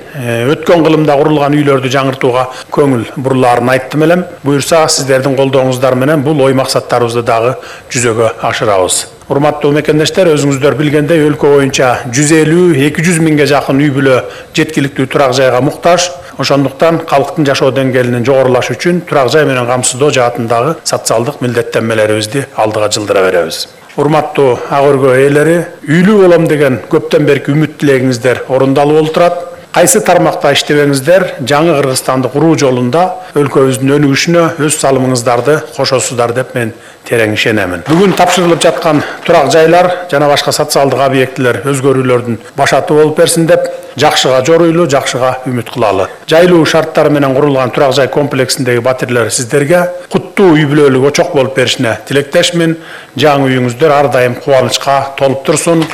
S19: өткөн кылымда курулган үйлөрдү жаңыртууга көңүл бурулаарын айттым элем. Буюрса сиздердин колдооңуздар менен бул ой максаттарыбызды дагы жүзөгө ашырабыз. Урматтуу мекендештер, өзүңүздөр билгендей өлкө боюнча жүз элүү эки жүз миңге жакын үй бүлө жеткиликтүү турак жайга муктаж. Ошондуктан калктын жашоо деңгээлинин жогорулашы үчүн турак жай менен камсыздоо жаатындагы социалдык милдеттенмелерибизди алдыга жылдыра беребиз. Урматтуу ак өргө ээлери, үйлүү болом деген көптөн берки үмүт тилегиңиздер орундалып болуп турат. Кайсы тармакта иштебеңиздер, жаңы Кыргызстанды куруу жолунда өлкөбүздүн өнүгүшүнө өз салымыңыздарды кошосуздар деп мен терең ишенемин. Бүгүн тапшырылып жаткан турак жайлар жана башка социалдык объектилер өзгөрүүлөрдүн башаты болуп берсин деп жакшыга жоруйлуу, жакшыга үмүт кылалы. Жайлуу шарттар менен курулган турак жай комплексиндеги батирлер сиздерге куттуу үй бүлөлүк очок болуп беришине тилектешмин. Жаңы үйүңүздөр ар дайым кубанычка толуп турсун.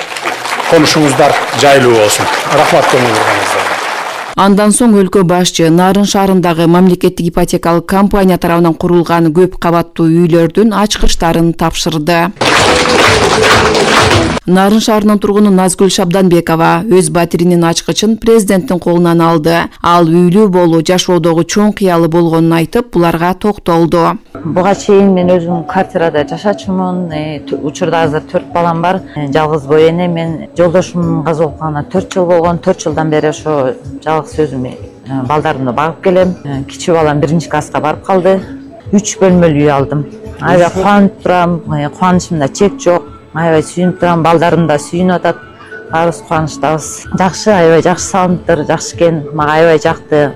S19: Конушуңуздар жайлуу болсун. Рахмат көңүл бурганыңыздарга.
S2: Андан соң өлкө башчы Нарын шаарындагы мамлекеттик ипотекалык компания тарабынан курулган көп кабаттуу үйлөрдүн ачкычтарын тапшырды. Нарын шаарынын тургуну Назгүл Шабданбекова өз батиринин ачкычын президенттин колунан алды. Ал үйлүү болуу жашоодогу чоң кыялы болгонун айтып, буларга токтолду.
S20: Буга чейин мен өзүм квартирада жашачумун. Учурда азыр төрт балам бар. Жалгыз бой эне. Мен жолдошумдун каза болгонуна төрт жыл болгон. төрт жылдан бери ошо жалгыз өзүм балдарымды багып келем. Кичи балам биринчи класска барып калды. үч бөлмөлүү үй алдым. Аябай кубанып турам, кубанычымда чек жок. Аябай сүйүнүп турам, балдарым да сүйүнүп атат. Баарыбыз кубанычтабыз. Жакшы, аябай жакшы салыныптыр, жакшы экен. Мага аябай жакты.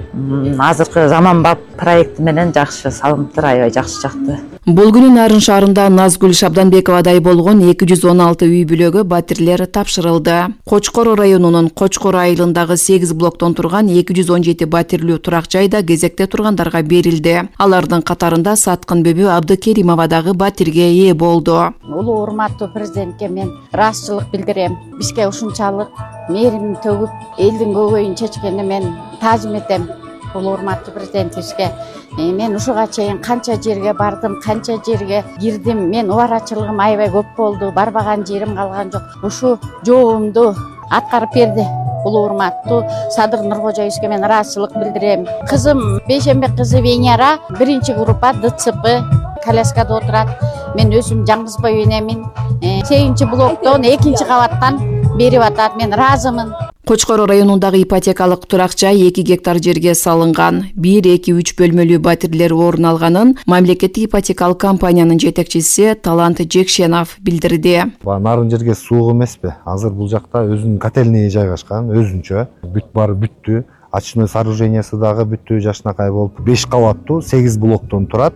S20: Азыркы заманбап проекти менен жакшы салыныптыр, аябай жакшы жакты.
S2: Бул күнү Нарын шаарында Назгүл Шабданбековадай болгон эки жүз он алты үй бүлөгө батирлер тапшырылды. Кочкор районунун Кочкор айылындагы сегиз блоктон турган эки жүз он жети батирлүү турак жайда кезекте тургандарга берилди. Алардын катарында Саткын Бөбү Абдыкеримова дагы батирге ээ болду.
S21: Улуу урматтуу президентке мен ыраазычылык билдирем. Бизге ушунчалык мээрим төгүп, элдин көйгөйүн чечкенине мен таазим этем. Улуу урматтуу президентибизге мен ушуга чейин канча жерге бардым, канча жерге кирдим. Мен убарачылыгым аябай көп болду, барбаган жерим калган жок. Ушу жообумду аткарып берди. Улуу урматтуу Садыр Нуркожоевичке мен ыраазычылык билдирем. Кызым Бейшембек кызы Венера биринчи группа Д Ц П коляскада отурат. Мен өзүм Жаңгызбай энемин. сегизинчи блоктон экинчи кабаттан берип атат. Мен ыраазымын.
S2: Кочкор районундагы ипотекалык турак жай эки гектар жерге салынган. бир, эки, үч бөлмөлүү батирлер орун алганын мамлекеттик ипотекалык компаниянын жетекчиси Талант Жекшенов билдирди.
S22: Нарын жерге суук эмеспи? Азыр бул жакта өзүнүн котельный жайгашкан, өзүнчө. Бүт баары бүттү. Очной сооружениясы дагы бүттү, жашынакай болуп. беш кабаттуу, сегиз блоктон турат.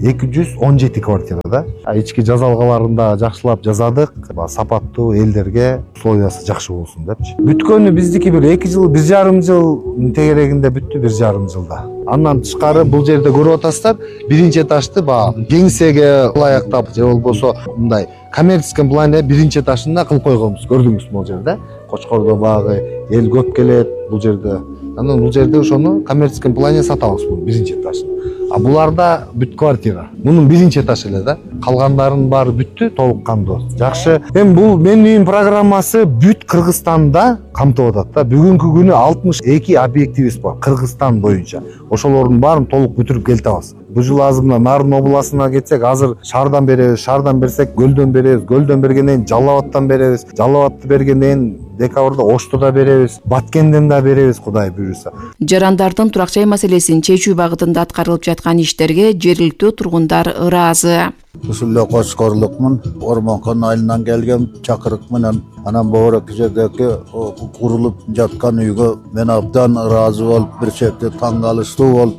S22: эки жүз он жети квартира да. Ички жазалгаларын да жакшылап жазадык. Сапаттуу элдерге условиясы жакшы болсун депчи. Бүткөнү биздики бир эки жыл, бир жарым жыл тегерегинде бүттү, бир жарым жылда. Андан тышкары бул жерде көрүп атасыздар, биринчи этажды баягы кеңсеге ылайыктап же болбосо мындай коммерческий планда биринчи этажында кылып койгонбуз. Көрдүңүзбү бул жерде? Кочкордо баягы эл көп келет бул жерде. Анан бул жерде ошону коммерческий плане сатабыз бул биринчи этажын. А буларда бүт квартира. Мунун биринчи этаж эле да. Калгандарынын баары бүттү, толук кандуу. Жакшы. Эми бул менин үйүм программасы бүт Кыргызстанда камтып атат да. Бүгүнкү күнү алтымыш эки объектибиз бар Кыргызстан боюнча. Ошолордун баарын толук бүтүрүп келтебиз. Бул жыл азыр мына Нарын областына кетсек, азыр шаардан беребиз, шаардан берсек Көлдөн беребиз, Көлдөн бергенден кийин Жалал Абадтан беребиз, Жалал Абадты бергенден кийин декабрда Ошту да беребиз, Баткенден да беребиз, Кудай буйруса.
S2: Жарандардын турак жай маселесин чечүү багытында аткарылып жаткан иштерге жергиликтүү тургундар ыраазы.
S23: Ушул эле Кочкорлукмун, Ормонкон айылынан келген чакырык менен анан Боорок жердеги курулуп жаткан үйгө мен абдан ыраазы болуп, бир чети таң калыштуу болуп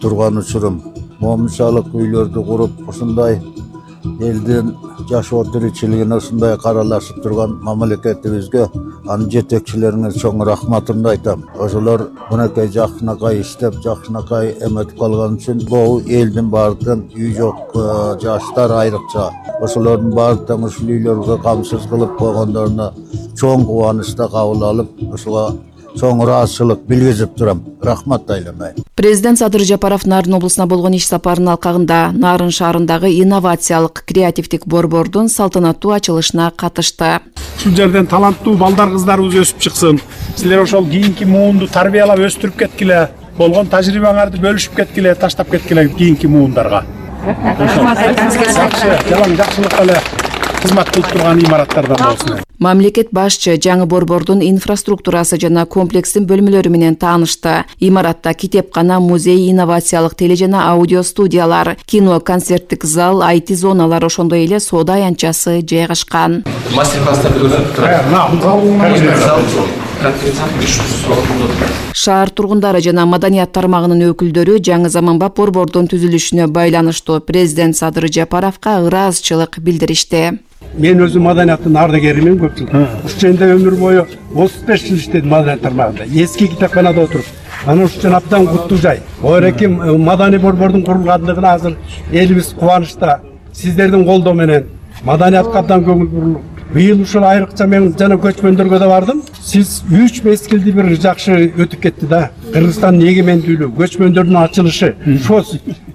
S23: турган учурум. Момунчалык үйлөрдү куруп, ушундай элдин жашоо тиричилигине ушундай каралашып турган мамлекетибизге, анын жетекчилерине чоң рахматымды айтам. Ошолор мынакей жакшынакай иштеп, жакшынакай эметип калган үчүн бул элдин баардыгын үй жок жаштар айрыкча ошолордун баардыгын ушул үйлөргө камсыз кылып койгондоруна чоң кубанычта кабыл алып, ушуга чоң ыраазычылык билгизип турам. Рахмат айламай.
S2: Президент Садыр Жапаров Нарын облусуна болгон иш сапарынын алкагында Нарын шаарындагы инновациялык креативдик борбордун салтанаттуу ачылышына катышты.
S19: Ушул жерден таланттуу балдар кыздарыбыз өсүп чыксын. Силер ошол кийинки муунду тарбиялап өстүрүп кеткиле. Болгон тажрыйбаңарды бөлүшүп кеткиле, таштап кеткиле кийинки муундарга. Жакшы, жалаң жакшылыкка эле кызмат кылып турган имараттардан болсун.
S2: Мамлекет башчы жаңы борбордун инфраструктурасы жана комплекстин бөлмөлөрү менен таанышты. Имаратта китепкана, музей, инновациялык теле жана аудио студиялар, кино, концерттик зал, ай ти зоналар, ошондой эле соода аянтчасы жайгашкан. Шаар тургундары жана маданият тармагынын өкүлдөрү жаңы заманбап борбордун түзүлүшүнө байланыштуу президент Садыр Жапаровго ыраазычылык билдиришти.
S19: Мен өзүм маданияттын ардагеримин көп жыл. Ушул жерде өмүр бою отуз беш жыл иштедим маданият тармагында. Эски китепканада отуруп, анан ушул абдан куттуу жай. Оореки маданий борбордун курулгандыгына азыр элибиз кубанычта. Сиздердин колдоо менен маданиятка абдан көңүл бурулуп. Быйыл ушул айрыкча мен жана көчмөндөргө да бардым. Сиз үч мезгилди бир жакшы өтүп кетти да. Кыргызстандын эгемендүүлүгү, көчмөндөрдүн ачылышы. Ошо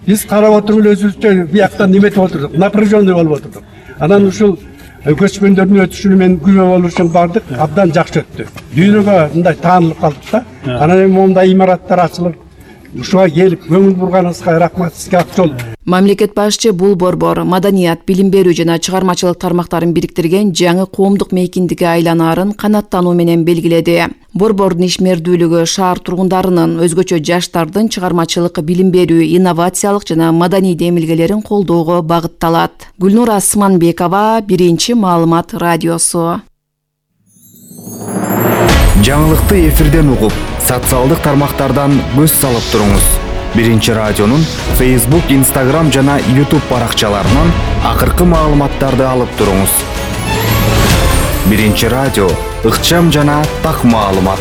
S19: биз карап отуруп эле өзүбүзчө бияктан неметип отурдук, напряженный болуп отурдук. Анан ушул көчмөндөрдүн өтүшүнө мен күбө болуу үчүн бардык, абдан жакшы өттү. Дүйнөгө мындай таанылып калдык да. Анан эми мондай имараттар ачылып,
S1: ушуга келип көңүл бурганыңызга рахмат, сизге ак жол.
S2: Мамлекет башчы бул борбор маданият, билим берүү жана чыгармачылык тармактарын бириктирген жаңы коомдук мейкиндикке айланаарын канаттануу менен белгиледи. Борбордун ишмердүүлүгү шаар тургундарынын, өзгөчө жаштардын чыгармачылык, билим берүү, инновациялык жана маданий демилгелерин колдоого багытталат. Гүлнур Асманбекова, Биринчи маалымат радиосу.
S6: Жаңылыкты эфирден угуп, социалдык тармактардан көз салып туруңуз. Биринчи радионун Facebook, Instagram жана YouTube баракчаларынан акыркы маалыматтарды алып туруңуз. Биринчи радио, ыкчам жана так маалымат.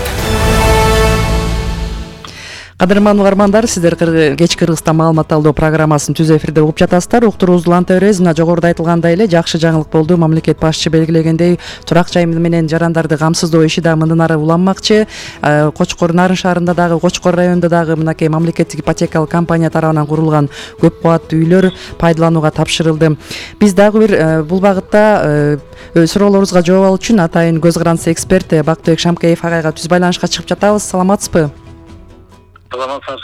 S17: Кадырман угармандар, сиздер кечки Кыргызстан маалымат алдоо программасын түз эфирде угуп жатасыздар. Уктуруубузду уланта беребиз. Мына жогоруда айтылгандай эле жакшы жаңылык болду. Мамлекет башчы белгилегендей, турак жай менен жарандарды камсыздоо иши да мындан ары уланмакчы. Кочкор Нарын шаарында дагы, Кочкор районунда дагы мынакей мамлекеттик ипотекалык компания тарабынан курулган көп кабаттуу үйлөр пайдаланууга тапшырылды. Биз дагы бир бул багытта суроолорубузга жооп алуу үчүн атайын көз карандысы эксперт Бактыбек Шамкеев агайга түз байланышка чыгып жатабыз. Саламатсызбы?
S18: Саламатсыздар.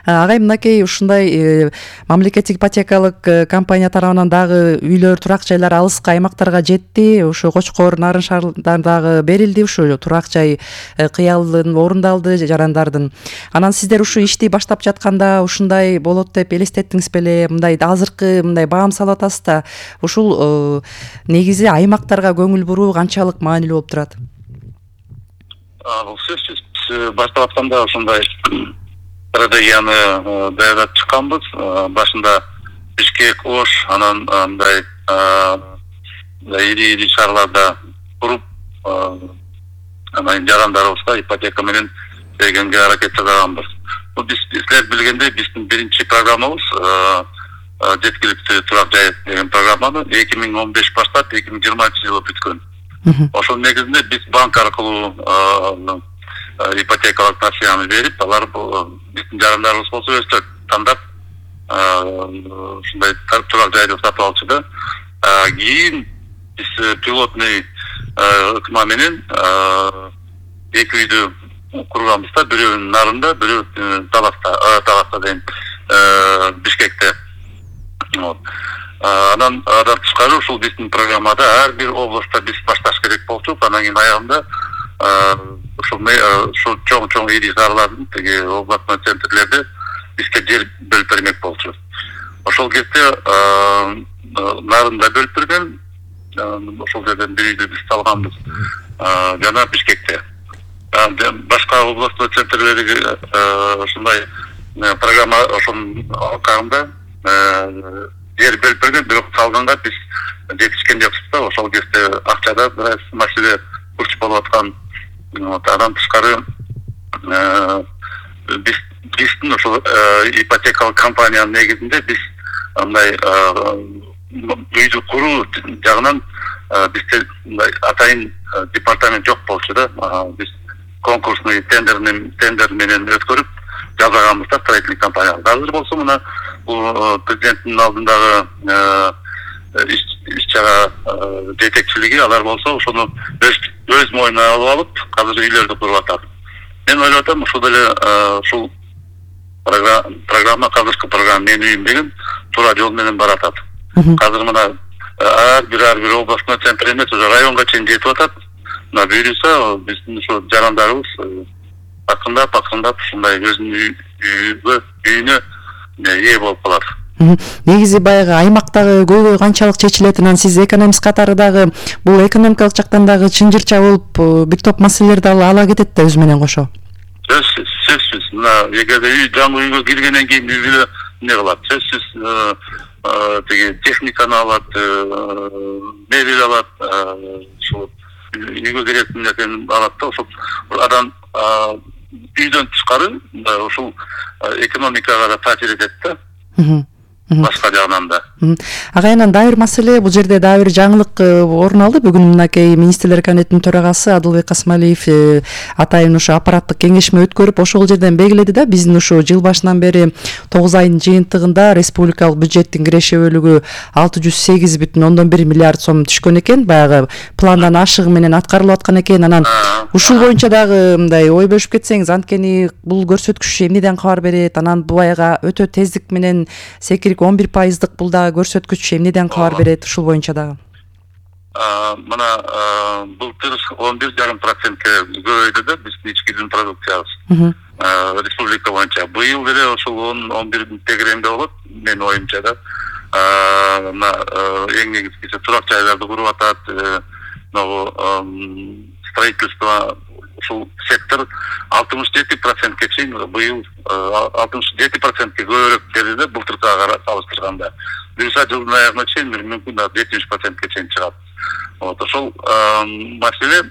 S17: Агай, мынакей ушундай мамлекеттик ипотекалык компания тарабынан дагы үйлөр, турак жайлар алыскы аймактарга жетти. Ушу Кочкор, Нарын шаарындагы берилди. Ушу турак жай кыялын орундалды жарандардын. Анан сиздер ушу ишти баштап жатканда ушундай болот деп элестеттиңиз беле? Мындай азыркы мындай баам салып атасыз да. Ушул негизи аймактарга көңүл буруу канчалык маанилүү болуп турат?
S18: Бул сөзсүз баштап атканда ушундай стратегияны даярдап чыкканбыз. Башында Бишкек, Ош, анан мындай ири ири шаарларда туруп, анан жарандарыбызга ипотека менен бергенге аракет жасаганбыз. Бул биз силер билгендей биздин биринчи программабыз жеткиликтүү турак жай деген программаны эки миң он беш баштап эки миң жыйырманчы жылы бүткөн. Ошол негизинде биз банк аркылуу ипотекалык несияны берип, алар биздин жарандарыбыз болсо өздөрү тандап ушундай турак жайды сатып алчу. Кийин биз пилотный ыкма менен эки үйдү курганбыз да, бирөөнүн Нарында, бирөө Таласта, Таласта дейм, Бишкекте. Анан андан тышкары ушул биздин программада ар бир областта биз башташ керек болчу. Анан кийин аягында ушул чоң-чоң ири шаарлардын тиги областной центрлерде бизге жер бөлүп бермек болчу. Ошол кезде Нарында бөлүп берген, ошол жерден бир үйдү биз салганбыз. Жана Бишкекте. Башка областной центрлерге ушундай программа ошонун алкагында жер бөлүп берген, бирок салганга биз жетишкен жокпуз да. Ошол кезде акчада бир маселе курч болуп аткан. Андан тышкары биз биздин ошол ипотекалык компаниянын негизинде биз мындай үйдү куруу жагынан бизде мындай атайын департамент жок болчу да. Биз конкурсный тендерный тендер менен өткөрүп жасаганбыз да строительный компания. Азыр болсо мына бул президенттин алдындагы иш чара жетекчилиги, алар болсо ошону өз мойнуна алып алып, азыр үйлөрдү куруп атат. Мен ойлоп атам, ушул деле ушул программа, азыркы программа менин үйүм деген туура жол менен баратат. Азыр мына ар бир ар бир областной центр эмес, уже районго чейин жетип атат. Мына буюрса биздин ушул жарандарыбыз акырындап акырындап ушундай өзүнүн үйүгө үйүнө ээ болуп калат.
S17: Негизи баягы аймактагы көйгөй канчалык чечилет, анан сиз экономист катары дагы бул экономикалык жактан дагы чынжырча болуп бир топ маселелерди ала кетет да өзү менен кошо.
S18: Сөзсүз, сөзсүз. Мына эгерде үй жаңы үйгө киргенден кийин үйгө эмне кылат? Сөзсүз тиги техниканы алат, мебель алат, ушул үйгө керектүү нерсени алат да. Ошол адам үйдөн тышкары ушул экономикага да таасир этет да. башка жагынан да.
S17: Агайынан дагы бир маселе, бул жерде дагы бир жаңылык орун алды. Бүгүн мынакей министрлер кабинетинин төрагасы Адылбек Касмалиев атайын ушу аппараттык кеңешме өткөрүп, ошол жерден белгиледи да, биздин ушу жыл башынан бери тогуз айдын жыйынтыгында республикалык бюджеттин киреше бөлүгү алты жүз сегиз бүтүн ондон бир миллиард сом түшкөн экен, баягы пландан ашыгы менен аткарылып аткан экен. Анан ушул боюнча дагы мындай ой бөлүшүп кетсеңиз, анткени бул көрсөткүч эмнеден кабар берет? Анан баягы өтө тездик менен секирип он бир пайыздык бул дагы көрсөткүч эмнеден кабар берет ушул боюнча дагы?
S18: Мына былтыр он бир жарым процентке көбөйдү да биздин ички дүң продукциябыз республика боюнча. Быйыл деле ошол он бирдин тегеремде болот менин оюмча да. Мына эң негизгиси турак жайларды куруп атат, могу строительство ушул сектор алтымыш жети процентке чейин быйыл алтымыш жети процентке көбүрөөк берди былтыркыга салыштырганда. Буюрса жылдын аягына чейин мүмкүн жетимиш процентке чейин чыгат. Вот ошол маселе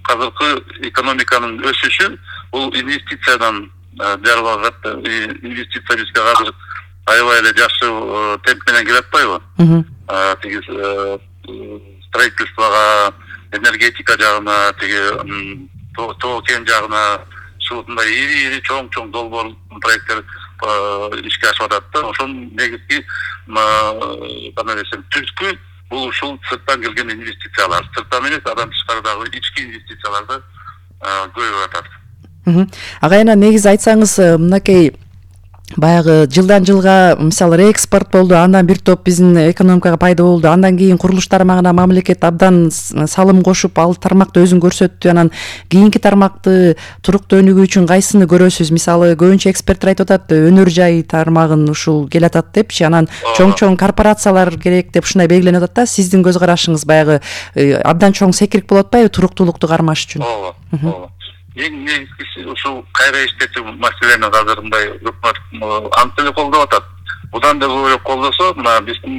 S18: азыркы экономиканын өсүшү бул инвестициядан жарып алат. Инвестиция бизге азыр аябай эле жакшы темп менен келе атпайбы? Тиги строительствого, энергетика жагына, тиги тоо кен жагына ушундай ири-ири чоң-чоң долбоор проекттер ишке ашып атат да. Ошонун негизги кандай десем түпкү бул ушул сырттан келген инвестициялар. Сырттан эмес, андан тышкарыдагы ички инвестицияларды көбөйүп атат.
S17: Агайына негизи айтсаңыз, мынакей баягы жылдан жылга мисалы реэкспорт болду, андан бир топ биздин экономикага пайда болду, андан кийин курулуш тармагына мамлекет абдан салым кошуп, ал тармакты өзүн көрсөттү. Анан кийинки тармакты туруктуу өнүгүү үчүн кайсыны көрөсүз? Мисалы көбүнчө эксперттер айтып атат, өнөр жай тармагын ушул келатат депчи, анан чоң-чоң корпорациялар керек деп ушундай белгиленип атат да. Сиздин көз карашыңыз баягы абдан чоң секирик болуп атпайбы туруктуулукту кармаш үчүн?
S18: Ооба, ооба. Эң негизгиси ушул кайра иштетүү маселени азыр мындай өкмөт анчалык колдоп атат. Будан да көбүрөөк колдосо, мына биздин